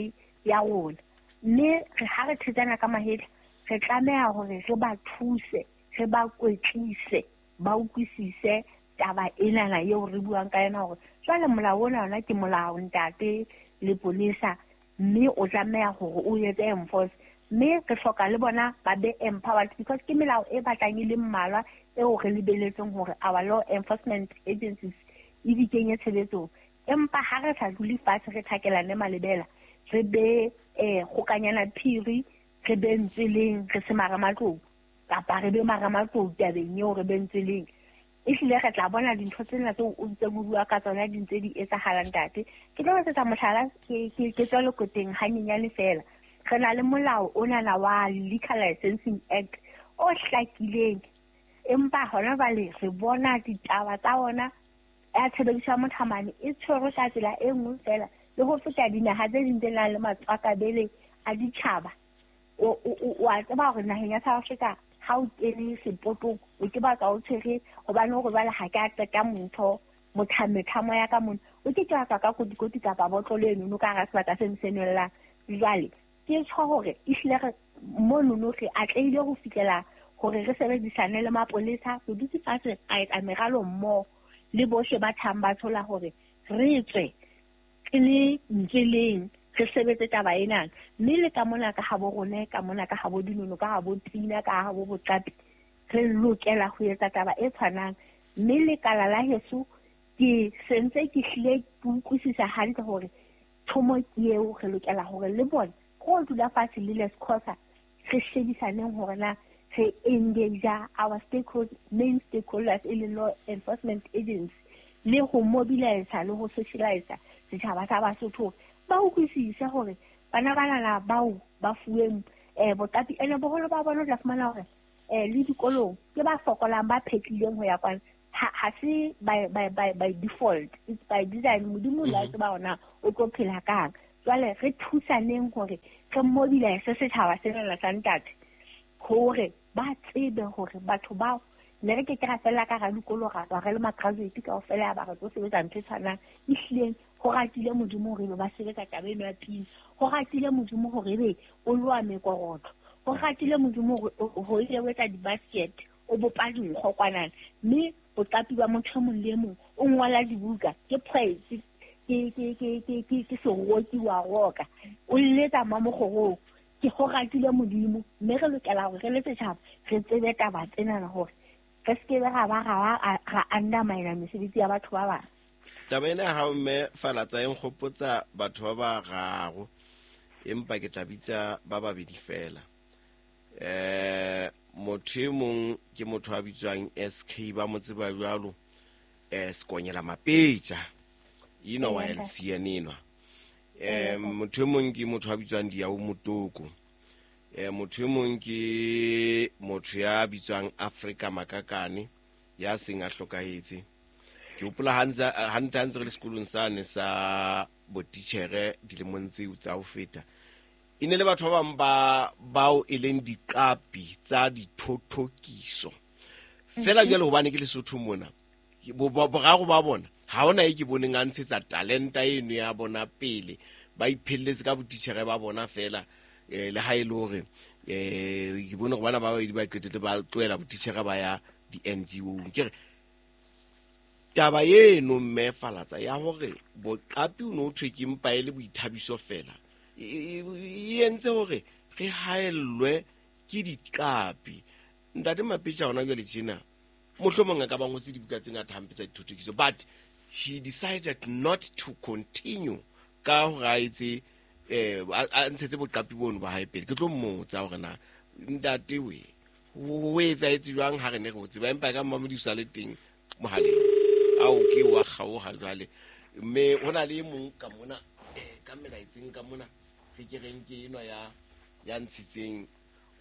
ya rona. Mme ha re thetsana ka mahetla, re tlameha hore re ba thuse, re ba kwetlise, ba utlwisise taba enana eo re buang ka yona hore jwale molao ona ona ke molao ntate le polisa, mme o tlameha hore o etse enforce. Mme re hloka le bona ba be empowered because ke melao e batlang e le mmalwa eo re lebeletseng hore our law enforcement agencies e di kenye tshebetsong. Empa ha re sa dule fatshe re thakelane malebela, re be kgokanyana phiri, re be ntseleng, re se maramatlou kapa re be maramatlou tabeng eo re be ntseleng, ehlile re tla bona dintho tsena tseo o ntseng o bua ka tsona di ntse di etsahala ntate. Ke tlo etsetsa mohlala, ke tswa Lekoteng hanyenyane fela. Re na le molao onana wa Liquor Licensing Act o hlakileng, empa hona jwale re bona ditaba tsa ona ya tshebediso ya mothamane e tshwerwe ka tsela e nngwe fela le ho feta dinaha tse ding tse nang le matswakabele a ditjhaba. O a tseba hore naheng ya South Africa ha o kene sepotong o ke batla o tshwere hobane hore jwale ha ke a qeta motho mothamethamo ya ka mona, o ke ke wa tswa ka kotikoti kapa botlolo enono ka hara sebaka seno se nwellang. Jwale ke tjho hore ehlile re monono re atlehile ho fihlela hore re sebedisane le mapolesa, re dutse fatshe ra etsa meralo mmoho le bohle ba thang ba thola hore re tswe re le ntseleng re sebetse taba ena. Mme le ka mona ka habo rona, ka mona ka habo dinono, ka habo pina, ka habo boqapi, re lokela ho etsa taba e tshwanang. Mme lekala la heso ke sentse ke hlile ke utlwisisa hantle hore thomo ke eo re lokela hore le bone go dula fatshe le Lesikhosa re shebisaneng hore na re engage our stakeholders, main stakeholders e leng law enforcement agency, le ho mobilize le ho socialize setjhaba sa Basotho ba utlwisise hore bana banana bao ba fuweng boqapi ene boholo ba bona o tla fumana hore Le dikolong ke ba fokolang ba phetlileng ho ya kwana. Ha se by default, it's by design. Modimo la tseba hona o tlo phela kang. Jwale re thusaneng hore re mobilize setjhaba sena sa ntate hore ba tsebe hore batho bao ne re ke ke ra fella ka ra dikolo ra tswa re le ma-graduate kaofela ba re tlo sebetsa ntho e tshwanang. Ehlileng ho ratile Modimo hore ebe ba sebetsa taba eno ya pina, ho ratile Modimo hore ebe o loa mekorotlo, ho ratile Modimo hore ebe o etsa di-basket, o bopa dinkgo kwanana, mme boqapi ba motho e mong le e mong o ngola dibuka, ke poet, ke seroki wa roka, o letsa mamokgorong. Ke ho ratile Modimo, mme re lokela hore re le setjhaba re tsebe taba tsenana hore re se ke be ra ba ra undermine mesebetsi ya batho ba bang. Taba ena ya hao mme Falatsa e nkgopotsa batho ba bararo, empa ke tla bitsa ba babedi fela. Motho e mong ke motho a bitswang SK, ba mo tseba jwalo, Sekonyela Mapetja, enwa wa LCN enwa. Motho e mong ke motho a bitswang Diau Motoko. Motho e mong ke motho ya bitswang Afrika Makakane, ya seng a hlokahetse. Ke hopola hantle ha ntse re le sekolong sane sa botitjhere dilemong tseo tsa ho feta. E ne le batho ba bang ba bao e leng diqapi tsa dithothokiso. Fela jwale hobane ke Lesotho mona, boraro ba bona ha hona e ke boneng a ntshetsa talenta eno ya bona pele, ba iphelletse ka botitjhere ba bona fela. Le ha e le hore, ke bone hore bana ba babedi ba qetetse ba tlohela botitjhere ba ya di-N G O. Ke re taba eno mme Falatsa ya hore boqapi o no thwe ke mpa e le boithabiso fela, e entse hore re haellwe ke diqapi. Ntate Mapetja hona jwale tjena mohlomong a ka ba ngotse dibuka tse ngata hampe tsa dithothokiso, but he decided not to continue ka hore a etse, a ntshetse boqapi bono ba hae pele. Ke tlo mmotsa hore na ntate we ho etsahetse jwang ha re ne re o tseba, empa ka mmamodi o sa le teng mohaleng. Ao ke wa kgaoha jwale. Mme ho na le e mong ka mona, ka melaetseng ka mona, re ke reng ke enwa ya ntshitseng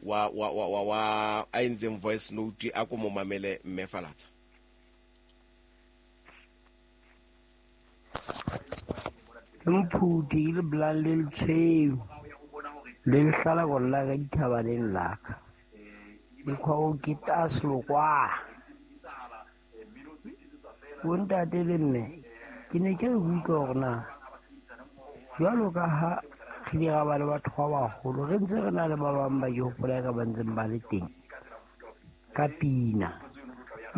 wa a entseng voice note, a ko mo mamele mme Falatsa. Ke mophuti le bolang le letshweu le lehlala go lla ka dithabaneng la ka. Mokgwa o ke taslokwa. Bontate le mme, ke ne ke re utlwa hore na jwalo ka ha re ile ra ba le batho ba baholo, re ntse re na le ba bang ba ke hopola ka ba ntseng ba le teng ka pina,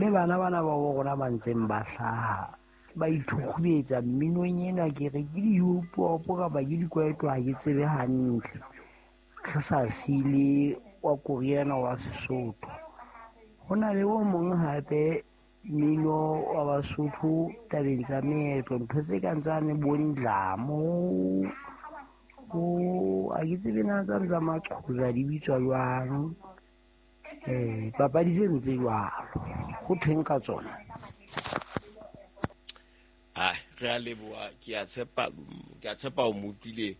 le bana bana ba bo rona ba ntseng ba hlaha ba ithukgubetsa mminong ena, ke re ke di-hip-hop kapa ke dikwaito, ha ke tsebe hantle. Re sa sile wa koriana wa Sesotho. Ho na le o mong hape mmino wa Basotho tabeng tsa meetlo, ntho tse kang tsane bo ndlamo, bo ha ke tsebe na tsane tsa Maqhoza di bitswa jwang, papadi tseno tse jwalo, ho thweng ka tsona? Ai, re a leboha, ke a tshepa, ke a tshepa o mo utlwile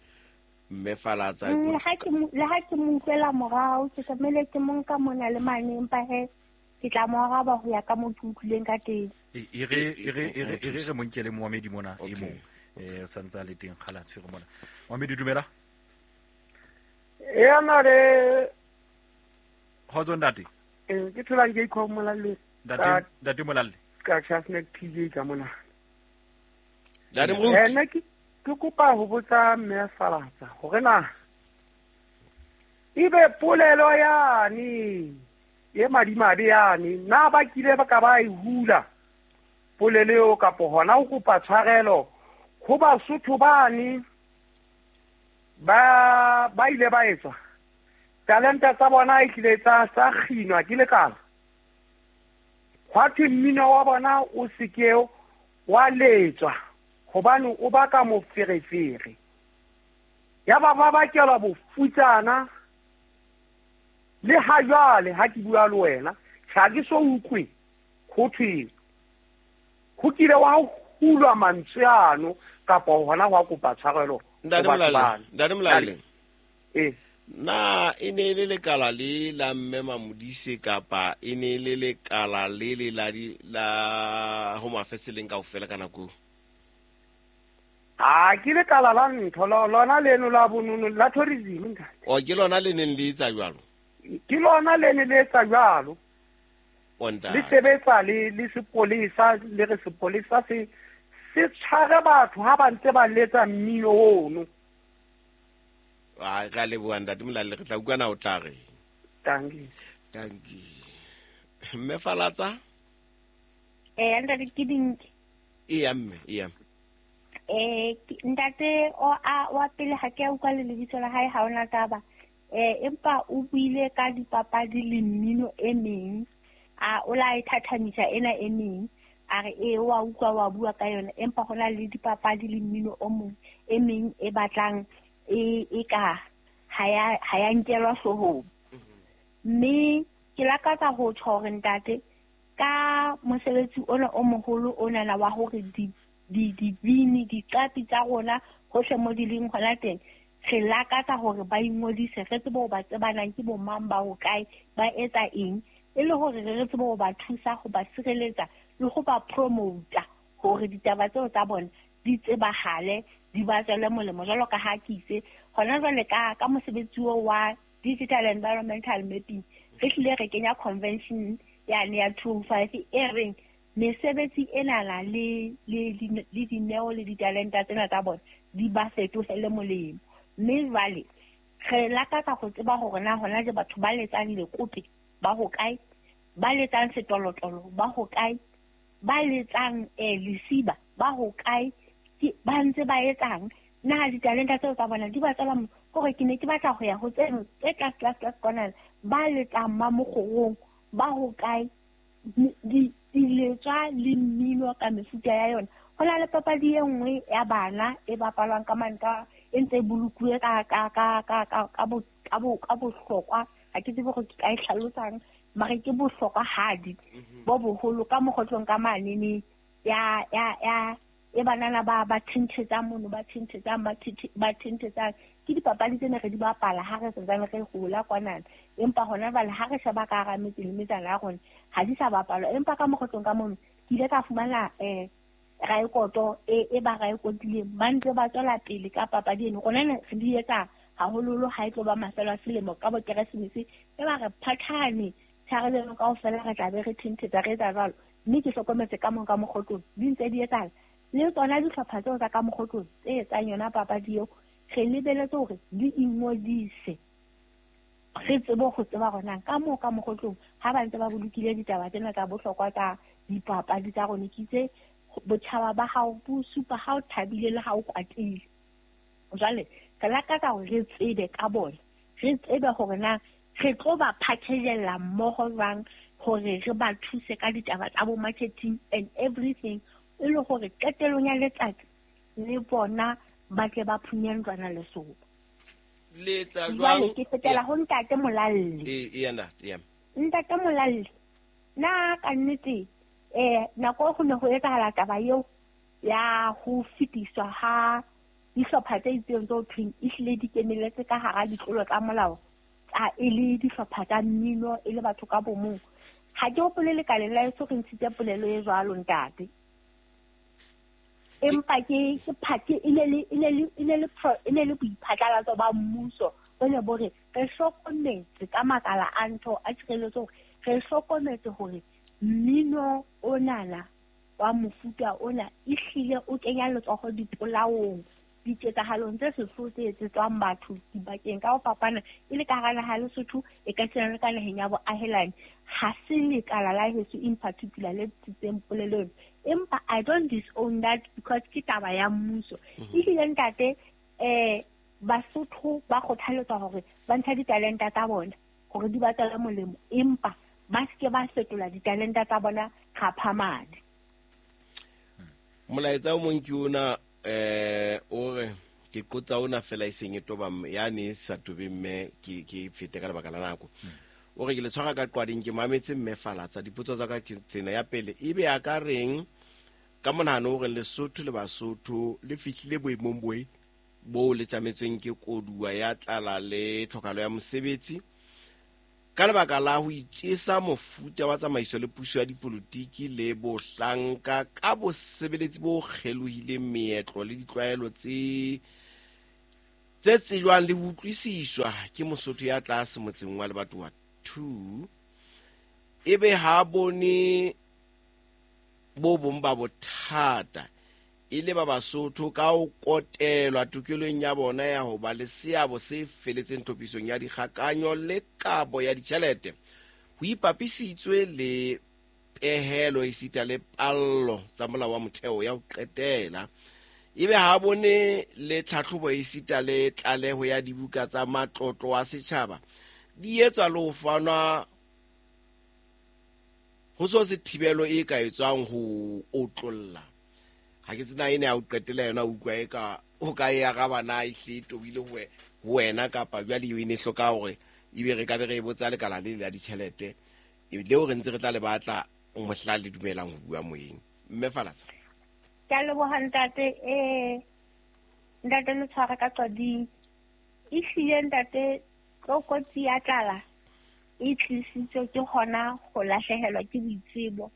mme Falatsa. Le ha ke mo utlwela morao, ke tlamehile ke mo nka mona le mane, empa he ke tla mo araba ho ya ka moo ke utlwileng ka teng. E re re mo nkele moamedi mona e mong. O santse a le teng kgala tshwere mona. Moamedi, dumela. Ena le Kgotso ntate. Ke tholang ke ikho Molalle. Ntate, ntate Molalle. Ka Chasnek PJ ka mona. Ntate Moruti. Nna ke kopa ho botsa mme Falatsa hore na ebe polelo yane e madimabe yane na ba kile ba ka ba e hula polelo eo, kapo hona ho kopa tshwarelo ho Basotho bane ba ile ba etswa talenta tsa bona e hlile tsa kginwa ke lekala, hwa thwe mmino wa bona o se ke wa letswa hobane o baka moferefere, ya ba ba bakelwa bofutsana. Le ha jwale ha ke bua le wena, ha ke so utlwe ho thwe ho kile wa hulwa mantswe ano kapa hona hwa kopa tshwarelo ho Ntate batho Molalle, bano. Ntate Molalle. Na e ne e le lekala le la mme Mamodise kapa e ne e le lekala le le la di la Home Affairs leng kaofela ka nako eo? Ha ke lekala la ntho lona leno la bonono la tourism ntate. O ke lona le neng le etsa jwalo? Ke lona le ne le etsa jwalo. O ntate. Le sebetsa le le sepolesa, le re sepolesa se se tshware batho ha ba ntse ba letsa mmino ono. Ai, re a leboha ntate Molalle, re tla utlwa na o tla reng. Dankie. Dankie. Mme Falatsa? Ntate ke dintle. Eya mme, eya. Ntate o a wa pele ha ke a utlwa le lebitso la hae, ha ona taba. Empa o buile ka dipapadi le mmino e meng. A o la e thathamisa ena e meng. A re e wa utlwa wa bua ka yona, empa hona le dipapadi le mmino o mong e meng e batlang e ka ha ya nkelwa hloohong. Mme ke lakatsa ho tjho hore ntate ka mosebetsi ona o moholo onana wa hore dibini, diqapi tsa rona hohle mo di leng hona teng, re lakatsa hore ba ingodise, re tsebe ho ba tsebanang ke bo mang, ba hokae, ba etsa eng, e le hore re tsebe ho ba thusa, ho ba sireletsa le ho ba promota hore ditaba tseo tsa bona di tsebahale, di ba tswele molemo. Jwalo ka ha ke itse hona jwale ka mosebetsi oo wa digital environmental mapping, re hlile re kenya convention yane ya 205 e reng mesebetsi enana le dineo le ditalenta tsena tsa bona di ba fetohele molemo. Mme jwale re lakatsa ho tseba hore na hona je batho ba letsang lekope ba hokae, ba letsang setolotolo ba hokae, ba letsang lesiba ba hokae, ke ba ntse ba etsang, na ditalenta tseo tsa bona di ba tswela hore ke ne ke batla ho ya ho tseno tse tlase tlase tlase kwana, ba letsang mamokgorong ba hokae, diletswa le mmino ka mefuta ya yona. Ho na le papadi e nngwe ya bana e bapalwang ka mane ka e ntse e bolokuwe ka bohlokwa, ha ke tsebe hore ke ka e hlalosang, mare ke bohlokwa hadi bo boholo ka mokgotlong ka manene ya e banana ba thenthetsang mono, ba thenthetsang, ba thenthetsang. Ke dipapadi tsene re di bapala ha re santsane re hola kwanana, empa hona jwale ha re sheba ka hara metse le metsana ya rona ha di sa bapalwa. Empa ka mokgotlong ka mono ke ile ka fumana raekoto e ba raekotileng, ba ntse ba tswela pele ka papadi eno. Rona ne re di etsa haholoholo ha e tlo ba mafelo a selemo ka bo Keresemese, e ba re phathane tshareleno kaofela, re tla be re thenthetsa re etsa jwalo. Mme ke hlokometse ka mong ka mokgotlong di ntse di etsahala. Le tsona dihlopha tseo tsa ka mokgotlong tse etsang yona papadi eo, re lebeletse hore di ingodise, re tsebe ho tseba hore na ka moo ka mokgotlong ha ba ntse ba bolokile ditaba tsena tsa bohlokwa tsa dipapadi tsa rona. Ke itse botjhaba ba hao bo supa ha o thabile le ha o kwatile. Jwale re lakatsa hore re tsebe ka bona, re tsebe hore na re tlo ba packagella mmoho jwang hore re ba thuse ka ditaba tsa bo marketing and everything, e le hore qetellong ya letsatsi le bona ba tle ba phunye ntlwana lesoba. Le etsa Jwale jwang? ke fetela ho ntate Molalle. Eya ntate, eya. Ntate Molalle, na ka nnete nako ho ne ho etsahala taba eo ya ho fetiswa ha dihlopha tse itseng tse ho thweng ehlile di kenelletse ka hara ditlolo tsa molao, tsa e le dihlopha tsa mmino, e le batho ka bomong. Ha ke hopole lekaleng la heso re ntshitse polelo e jwalo ntate. Empa ke ke e ne le boiphatlalatso ba mmuso bo ne bo re re hlokometse ka makala a ntho a tshireletso hore re hlokometse hore mmino onana wa mofuta ona ehlile o kenya letsoho dipolaong, diketsahalong tse sehloho tse etsetswang batho dibakeng ka ho fapana, e le ka hara naha ya Lesotho, e ka tshwana le ka naheng ya boahelani. Ha se lekala la heso in particular le ntshitseng polelo eno, empa I don't disown that because ke taba ya mmuso. Ehlile ntate, Basotho ba kgothaletswa hore ba ntshe ditalenta tsa bona hore di ba tswele molemo, empa ba seke ba fetola ditalenta tsa bona kgaphamadi. Molaetsa o mong ke ona, o re ke qotsa ona fela e seng e toba mme, yane e sa tobe mme ke fete ka lebaka la nako. O re ke le tshwara ka qwading, ke mametse mme Falatsa. Dipotso tsa ka ke tsena. Ya pele, ebe a ka reng ka monahano hore Lesotho le Basotho le fihlile boemong Bo le tjametsweng ke koduwa ya tlala le tlhokahalo ya mosebetsi ka lebaka la ho itjesa mofuta wa tsamaiso le puso ya dipolotiki le bohlanka ka bosebeletsi bo kgelohileng meetlo le ditlwaelo tse tsejwang le ho utlwisiswa ke Mosotho ya tlase motseng wa Lebatowa 2, ebe ha bone bo bong ba bothata e le ba Basotho ka ho kotelwa tokelong ya bona ya ho ba le seabo se feletseng tlhophisong ya dikgakanyo le kabo ya ditjhelete ho ipapisitswe le pehelo esita le pallo tsa molao wa motheo ya ho qetela, ebe ha bone le tlhatlhobo esita le tlaleho ya dibuka tsa matlotlo a setjhaba di etswa le ho fanwa ho so se thibelo e ka etswang ho otlolla. Ha ke tsena ene ya ho qetela yona, utlwa e ka o ka e araba na e hle tobile ho wena kapa jwale eo e ne hloka hore ebe re ka be re e botsa lekala le la ditjhelete leo re ntse re tla le batla mohla le dumelang ho bua moyeng. Mme Falatsa. Ke a leboha ntate. Ntate le tshwara ka qading. Ehlile ntate tlokotsi ya tlala e tlisitswe ke hona ho lahlehelwa ke boitsebo.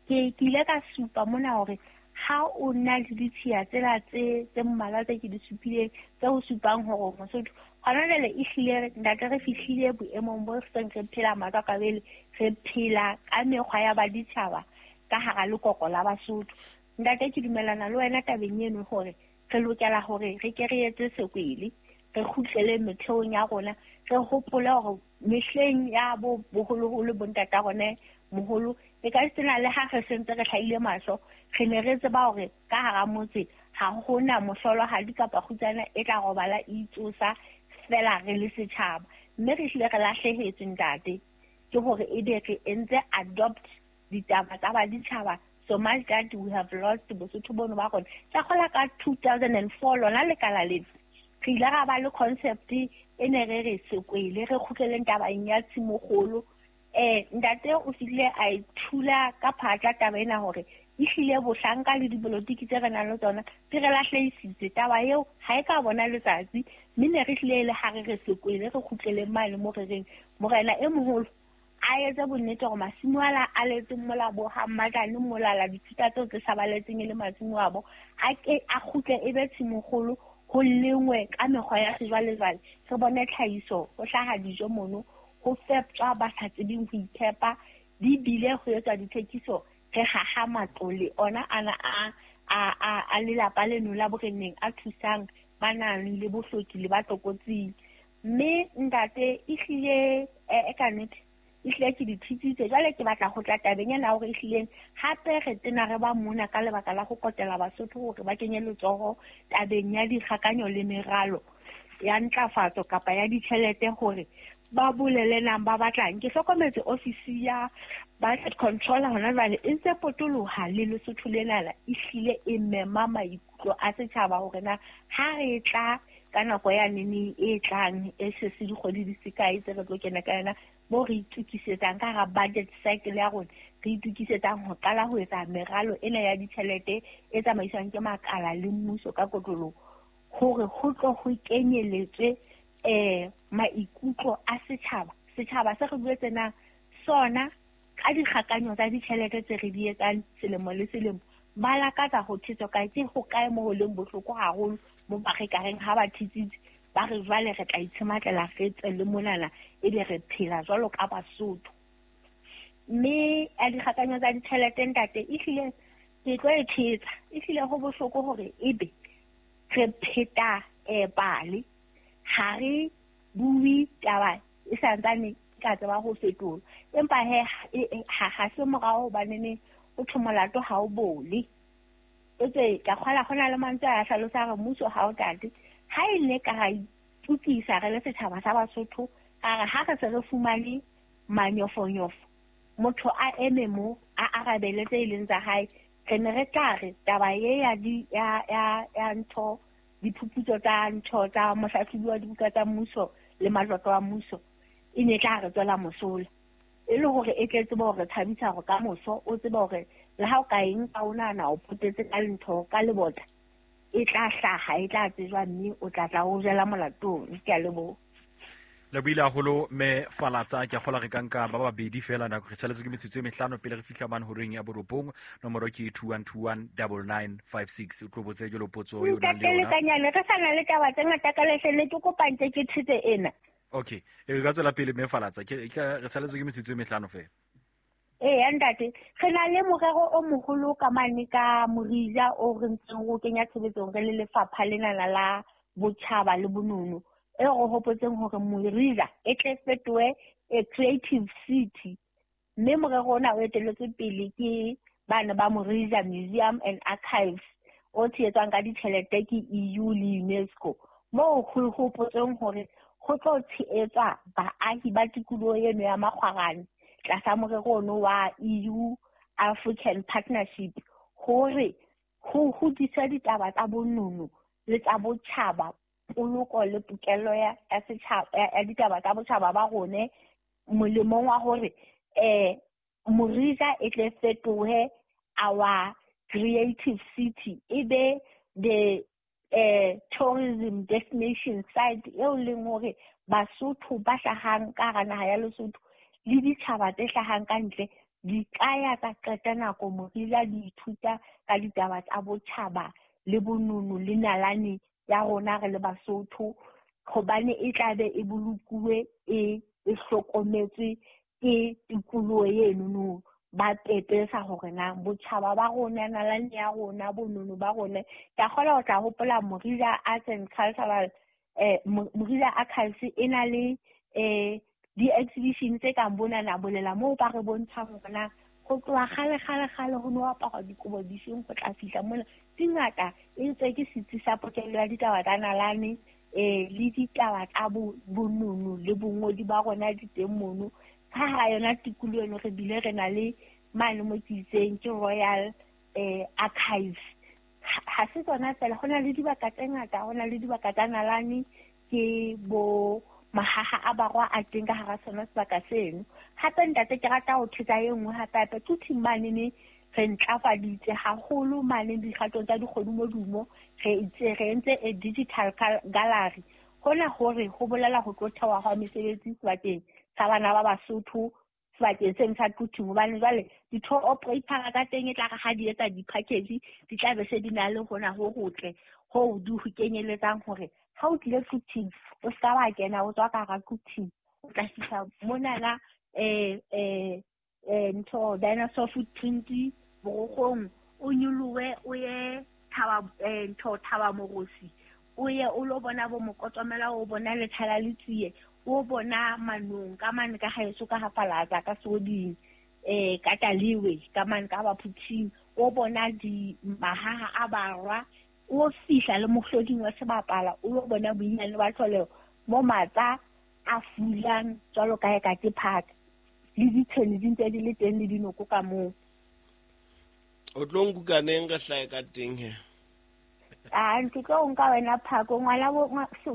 Ke ile ka supa mona hore ha o na le ditshiya tsela tse mmalwa tse ke di supileng tse o supang hore Mosotho hona jwale ehlile ntate re fihlile boemong bo seng re phela matswakabele, re phela ka mekgwa ya baditjhaba ka hara lekoko la Basotho. Ntate ke dumellana le wena tabeng eno hore re lokela hore re ke re etse sekwele, re kgutlele metheong ya rona, re hopole hore mehleng ya bo boholoholo bontata rona moholo e ka sena le ha re sentse re hlahile mahlo, re ne re tseba hore ka hara motse ha hona mohlolohadi kapa kgutsana e tla robala e itsosa fela re le setjhaba. Mme re hlile re lahlehetswe ntate ke hore ebe re entse adopt ditaba tsa baditjhaba so much that we have lost Bosotho bono ba rona. Ka kgola ka 2004 lona lekala lena re ile ra ba le concept e ne re re sekwele re kgutleleng tabeng ya tshimokgolo. Ntate o fihlile a ithula ka phatla taba ena hore ehlile bohlanka le dipolotiki tse re nang le tsona di re lahlehisitse. Taba eo ha e ka bona letsatsi, mme ne re hlile le ha re re sekwele re kgutleleng mane mo re reng morena e moholo a etse bonnete hore masimo ala a letseng mola bo ha Mmatlane mola la dithuta tseo tse sabaletseng e le masimo a bo a ke a kgutle e be tshimokgolo ho lengwe ka mekgwa ya sejwalejwale, re bone tlhahiso ho hlaha dijo mono, ho feptjwa ba sa tsebeng ho iphepa, di bile ho etswa dithekiso, re haha matlole ona ana a lelapa leno la boreneng a thusang ba nang le bohloki le ba tlokotsing. Mme ntate ehlile e ka nnete ehlile ke di thitsitse. Jwale ke batla ho tla tabeng ena hore ehlileng hape re tena re ba mona ka lebaka la ho kotela Basotho hore ba kenye letsoho tabeng ya dikgakanyo le meralo ya ntlafatso kapa ya ditjhelete hore ba bolele nang ba batlang. Ke hlokometse ofisi ya budget controller hona jwale e ntse potoloha le Lesotho lena ehlile e mema maikutlo a setjhaba hore na ha re tla ka nako ya neneng e tlang e se se dikgwedi di se kae tse re tlo kena ka yona mo re itukisetsang ka hara budget cycle ya rona, re itukisetsang ho qala ho etsa meralo ena ya ditjhelete e tsamaiswang ke makala le mmuso ka kotloloho hore ho tlo ho kenyeletswe maikutlo a setjhaba. Setjhaba se re buetse na sona ka dikgakanyo tsa ditjhelete tse re di etsang selemo le selemo, ba lakatsa ho thetswa kae, ke ho kae mo ho leng bohloko haholo mo ba re ka reng ha ba thetsitse ba re jwale re tla itshematlela re tswe le monana ebe re phela jwalo ka Basotho. Mme a dikgakanyo tsa ditjhelete ntate ehlile ke tlo e thetsa, ehlile ho bohloko hore ebe re pheta pale, ha re bue taba e santsane ka tseba ho fetola, empa he ha se morao hobanene o thwe molato ha o bole. Etswe ka kgola ho na le mantswe a hlalosa hore mmuso ha o tate. Ha e le ka ra itukisa re le setjhaba sa Basotho, ka re ha re se re fumane manyofonyofo, motho a eme mo a arabele tse leng tsa hae, re ne re tla re taba e ya di ya ntho diphuputso tsa ntho tsa mohlahlobi wa dibuka tsa mmuso le matlotlo a mmuso e ne tla re tswela mosola, e le hore e tle tsebe hore thabisa hore ka moso o tsebe hore le ha o ka eng ka o nahana o potetse ka ntho ka lebota E tla hlaha, e tla tsejwa, mme o tla tla o jela molatong. Ke a leboha. Le buile haholo mme Falatsa, ke a kgola re ka nka ba babedi fela nako re tshwanetse ke metsotso e mehlano pele re fihla mane horeng ya borobong. Nomoro ke 21219956. O tlo botse jalo potso eo nang le yona. Lekanyane re sa na le taba tse ngata ka lehlele, ke kopantse ke thetse ena. Okay, e ka tswela pele mme Falatsa, ke re saletswe ke metsotso e mehlano fela. Ee ntate, re na le morero o moholo ka mane ka Morija o re ntseng o kenya tshebetsong re le lefapha lena la botjhaba le bonono. E re hopotseng hore Morija e tle fetohe a creative city. Mme morero ona o etelletswe pele ke bana ba Morija Museum and Archives o tshehetswang ka ditjhelete ke EU le UNESCO. Moo ho hopotseng hore ho tlo tshehetswa baahi ba tikoloho eno ya Makgwarane tlasa morero ono wa EU African Partnership hore ho hodiswe ditaba tsa bonono le tsa botjhaba, poloko le pokello ya setjhaba ya ditaba tsa botjhaba ba rone, molemong wa hore Morija e tle fetohe our creative city, e be the tourism destination site eo leng hore Basotho ba hlahang ka hara naha ya Lesotho le ditjhaba tse hlahang ka ntle di ka ya tsa qeta nako Morija di ithuta ka ditaba tsa botjhaba le bonono le nalane ya rona re le Basotho, hobane e tla be e bolokuwe e hlokometswe ke tikoloho eno ba pepesa hore na botjhaba ba rona, nalane ya rona, bonono ba rona. Ke a kgolwa ho tla hopola Morija Arts and Cultural Morija Archives e na le di-exhibition tse kang bonana bolela moo ba re bontshang hore na ho tloha kgale kgale kgale ho no aparwa dikobo difeng ho tla fihla mona. Di ngata, e ntse ke setsi sa pokello ya ditaba tsa nalane le ditaba tsa bonono le bongodi ba rona di teng mono. Ka hara yona tikoloho eno re bile re na le mane mo ke itseng ke Royal Archives. Ha se tsona fela, ho na le dibaka tse ngata, ho na le dibaka tsa nalane ke bo mahaha a barwa a teng ka hara sona sebaka seno. Hape ntate ke rata ho thetsa e nngwe hape hape Quthing mane ne re ntlafaditse haholo mane dikgatong tsa dikgodumodumo, re itse re entse a digital gallery. Hona hore ho bolela ho tlo thewa hwa mesebetsi sebakeng sa bana ba Basotho sebakeng seno sa Quthing, hobane jwale di-tour operator tsa teng e tla re ha di etsa di-package di tla be se di na le hona ho hotle hoo di ho kenyeletsang hore ha o tlile Quthing o ska wa kena o tswa ka hara Quthing, o tla fihla monana ntho dinosaur footprint borokgong, o nyolohe o ye thaba ntho thaba morosi, o ye o lo bona bo mokotomela, o bona lethala le tsie, o bona manong ka mane ka haeso ka ha Falatsa ka Soding, ka Taliwe ka mane ka Baphuthing, o bona di mahaha a barwa, o fihla le mohloding wa sebapala, o lo bona boinyane ba tlholeho mo matsa a fulang jwalo ka eka ke park, le ditshene di ntse di le teng le dinoko ka moo. O tlo nkukaneng re hlahe ka teng he? A ntse tlo nka wena phako, ngwana bo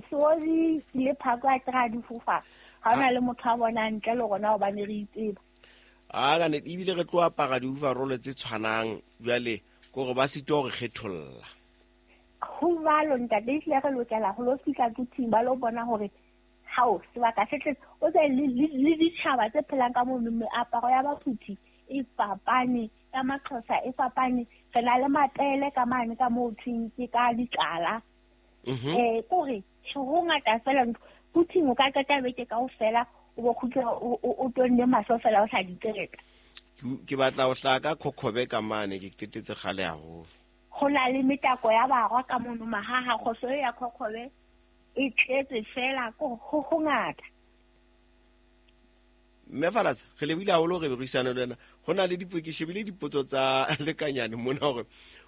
Sozi le phako a tla di fofa. Ha ona le motho a bona ntle le rona hobane re itseba. A ka nnete ebile re tlo apara di-overall tse tshwanang jwale kore ba sitwa hore kgetholla. Ho jwalo ntate, ehlile re lokela ho lo fihla Quthing ba lo bona hore hao sebaka se tletse. O tse le ditjhaba tse phelang ka mono, meaparo ya Baphuthi e fapane, ya Maxhosa e fapane. Re na le mapele ka mane ka moo thweng ke ka ditlala. Kore ho ngata fela ntho. Quthing o ka qeta beke kaofela o bo kgutla o tonne mahlo fela o sa di qeta. Ke batla ho hlaha ka Khokhobe ka mane, ke qetetse kgale haholo. Ho na le metako ya barwa ka mono mahaha, kgohlo ya Khokhobe e tletse fela ho hongata. Mme Falatsa, re lebile haholo re buisana le wena. Ho na le ke shebile dipotso tsa lekanyane mona hore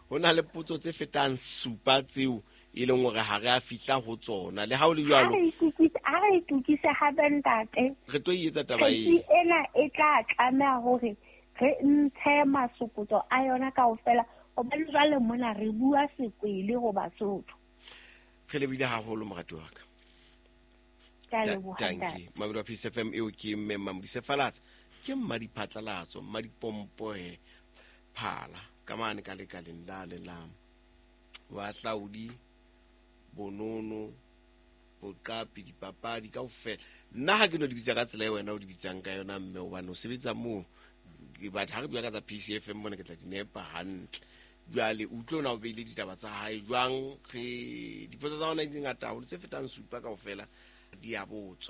ho na le potso tse fetang 7 tseo e leng hore ha re a fihla ho tsona. Le ha o le jwalo, a re itukise hape ntate. Re tlo etsa taba e. Ena e tla tlameha hore re ntshe masokotso a yona kaofela, hobane jwale mona re bua sekwele ho Basotho. Re lebile haholo morati wa ka. Tanki Mamelo Peace FM eo ke mme Mamodise Falatsa, ke mmadiphatlalatso, mmadipompo he phala ka mane ka lekaleng la le la Bohahlaudi, bonono, boqapi, dipapadi kaofela. Nna ha ke no di bitsa ka tsela e wena o di bitsang ka yona, mme hobane o sebetsa moo. Ke batla ha re bua ka tsa PCFM mona, ke tla di nepa hantle. Jwale utlwe ona o beile ditaba tsa hae jwang. Re dipotso tsa ona di ngata haholo, tse fetang supa kaofela di a botswa.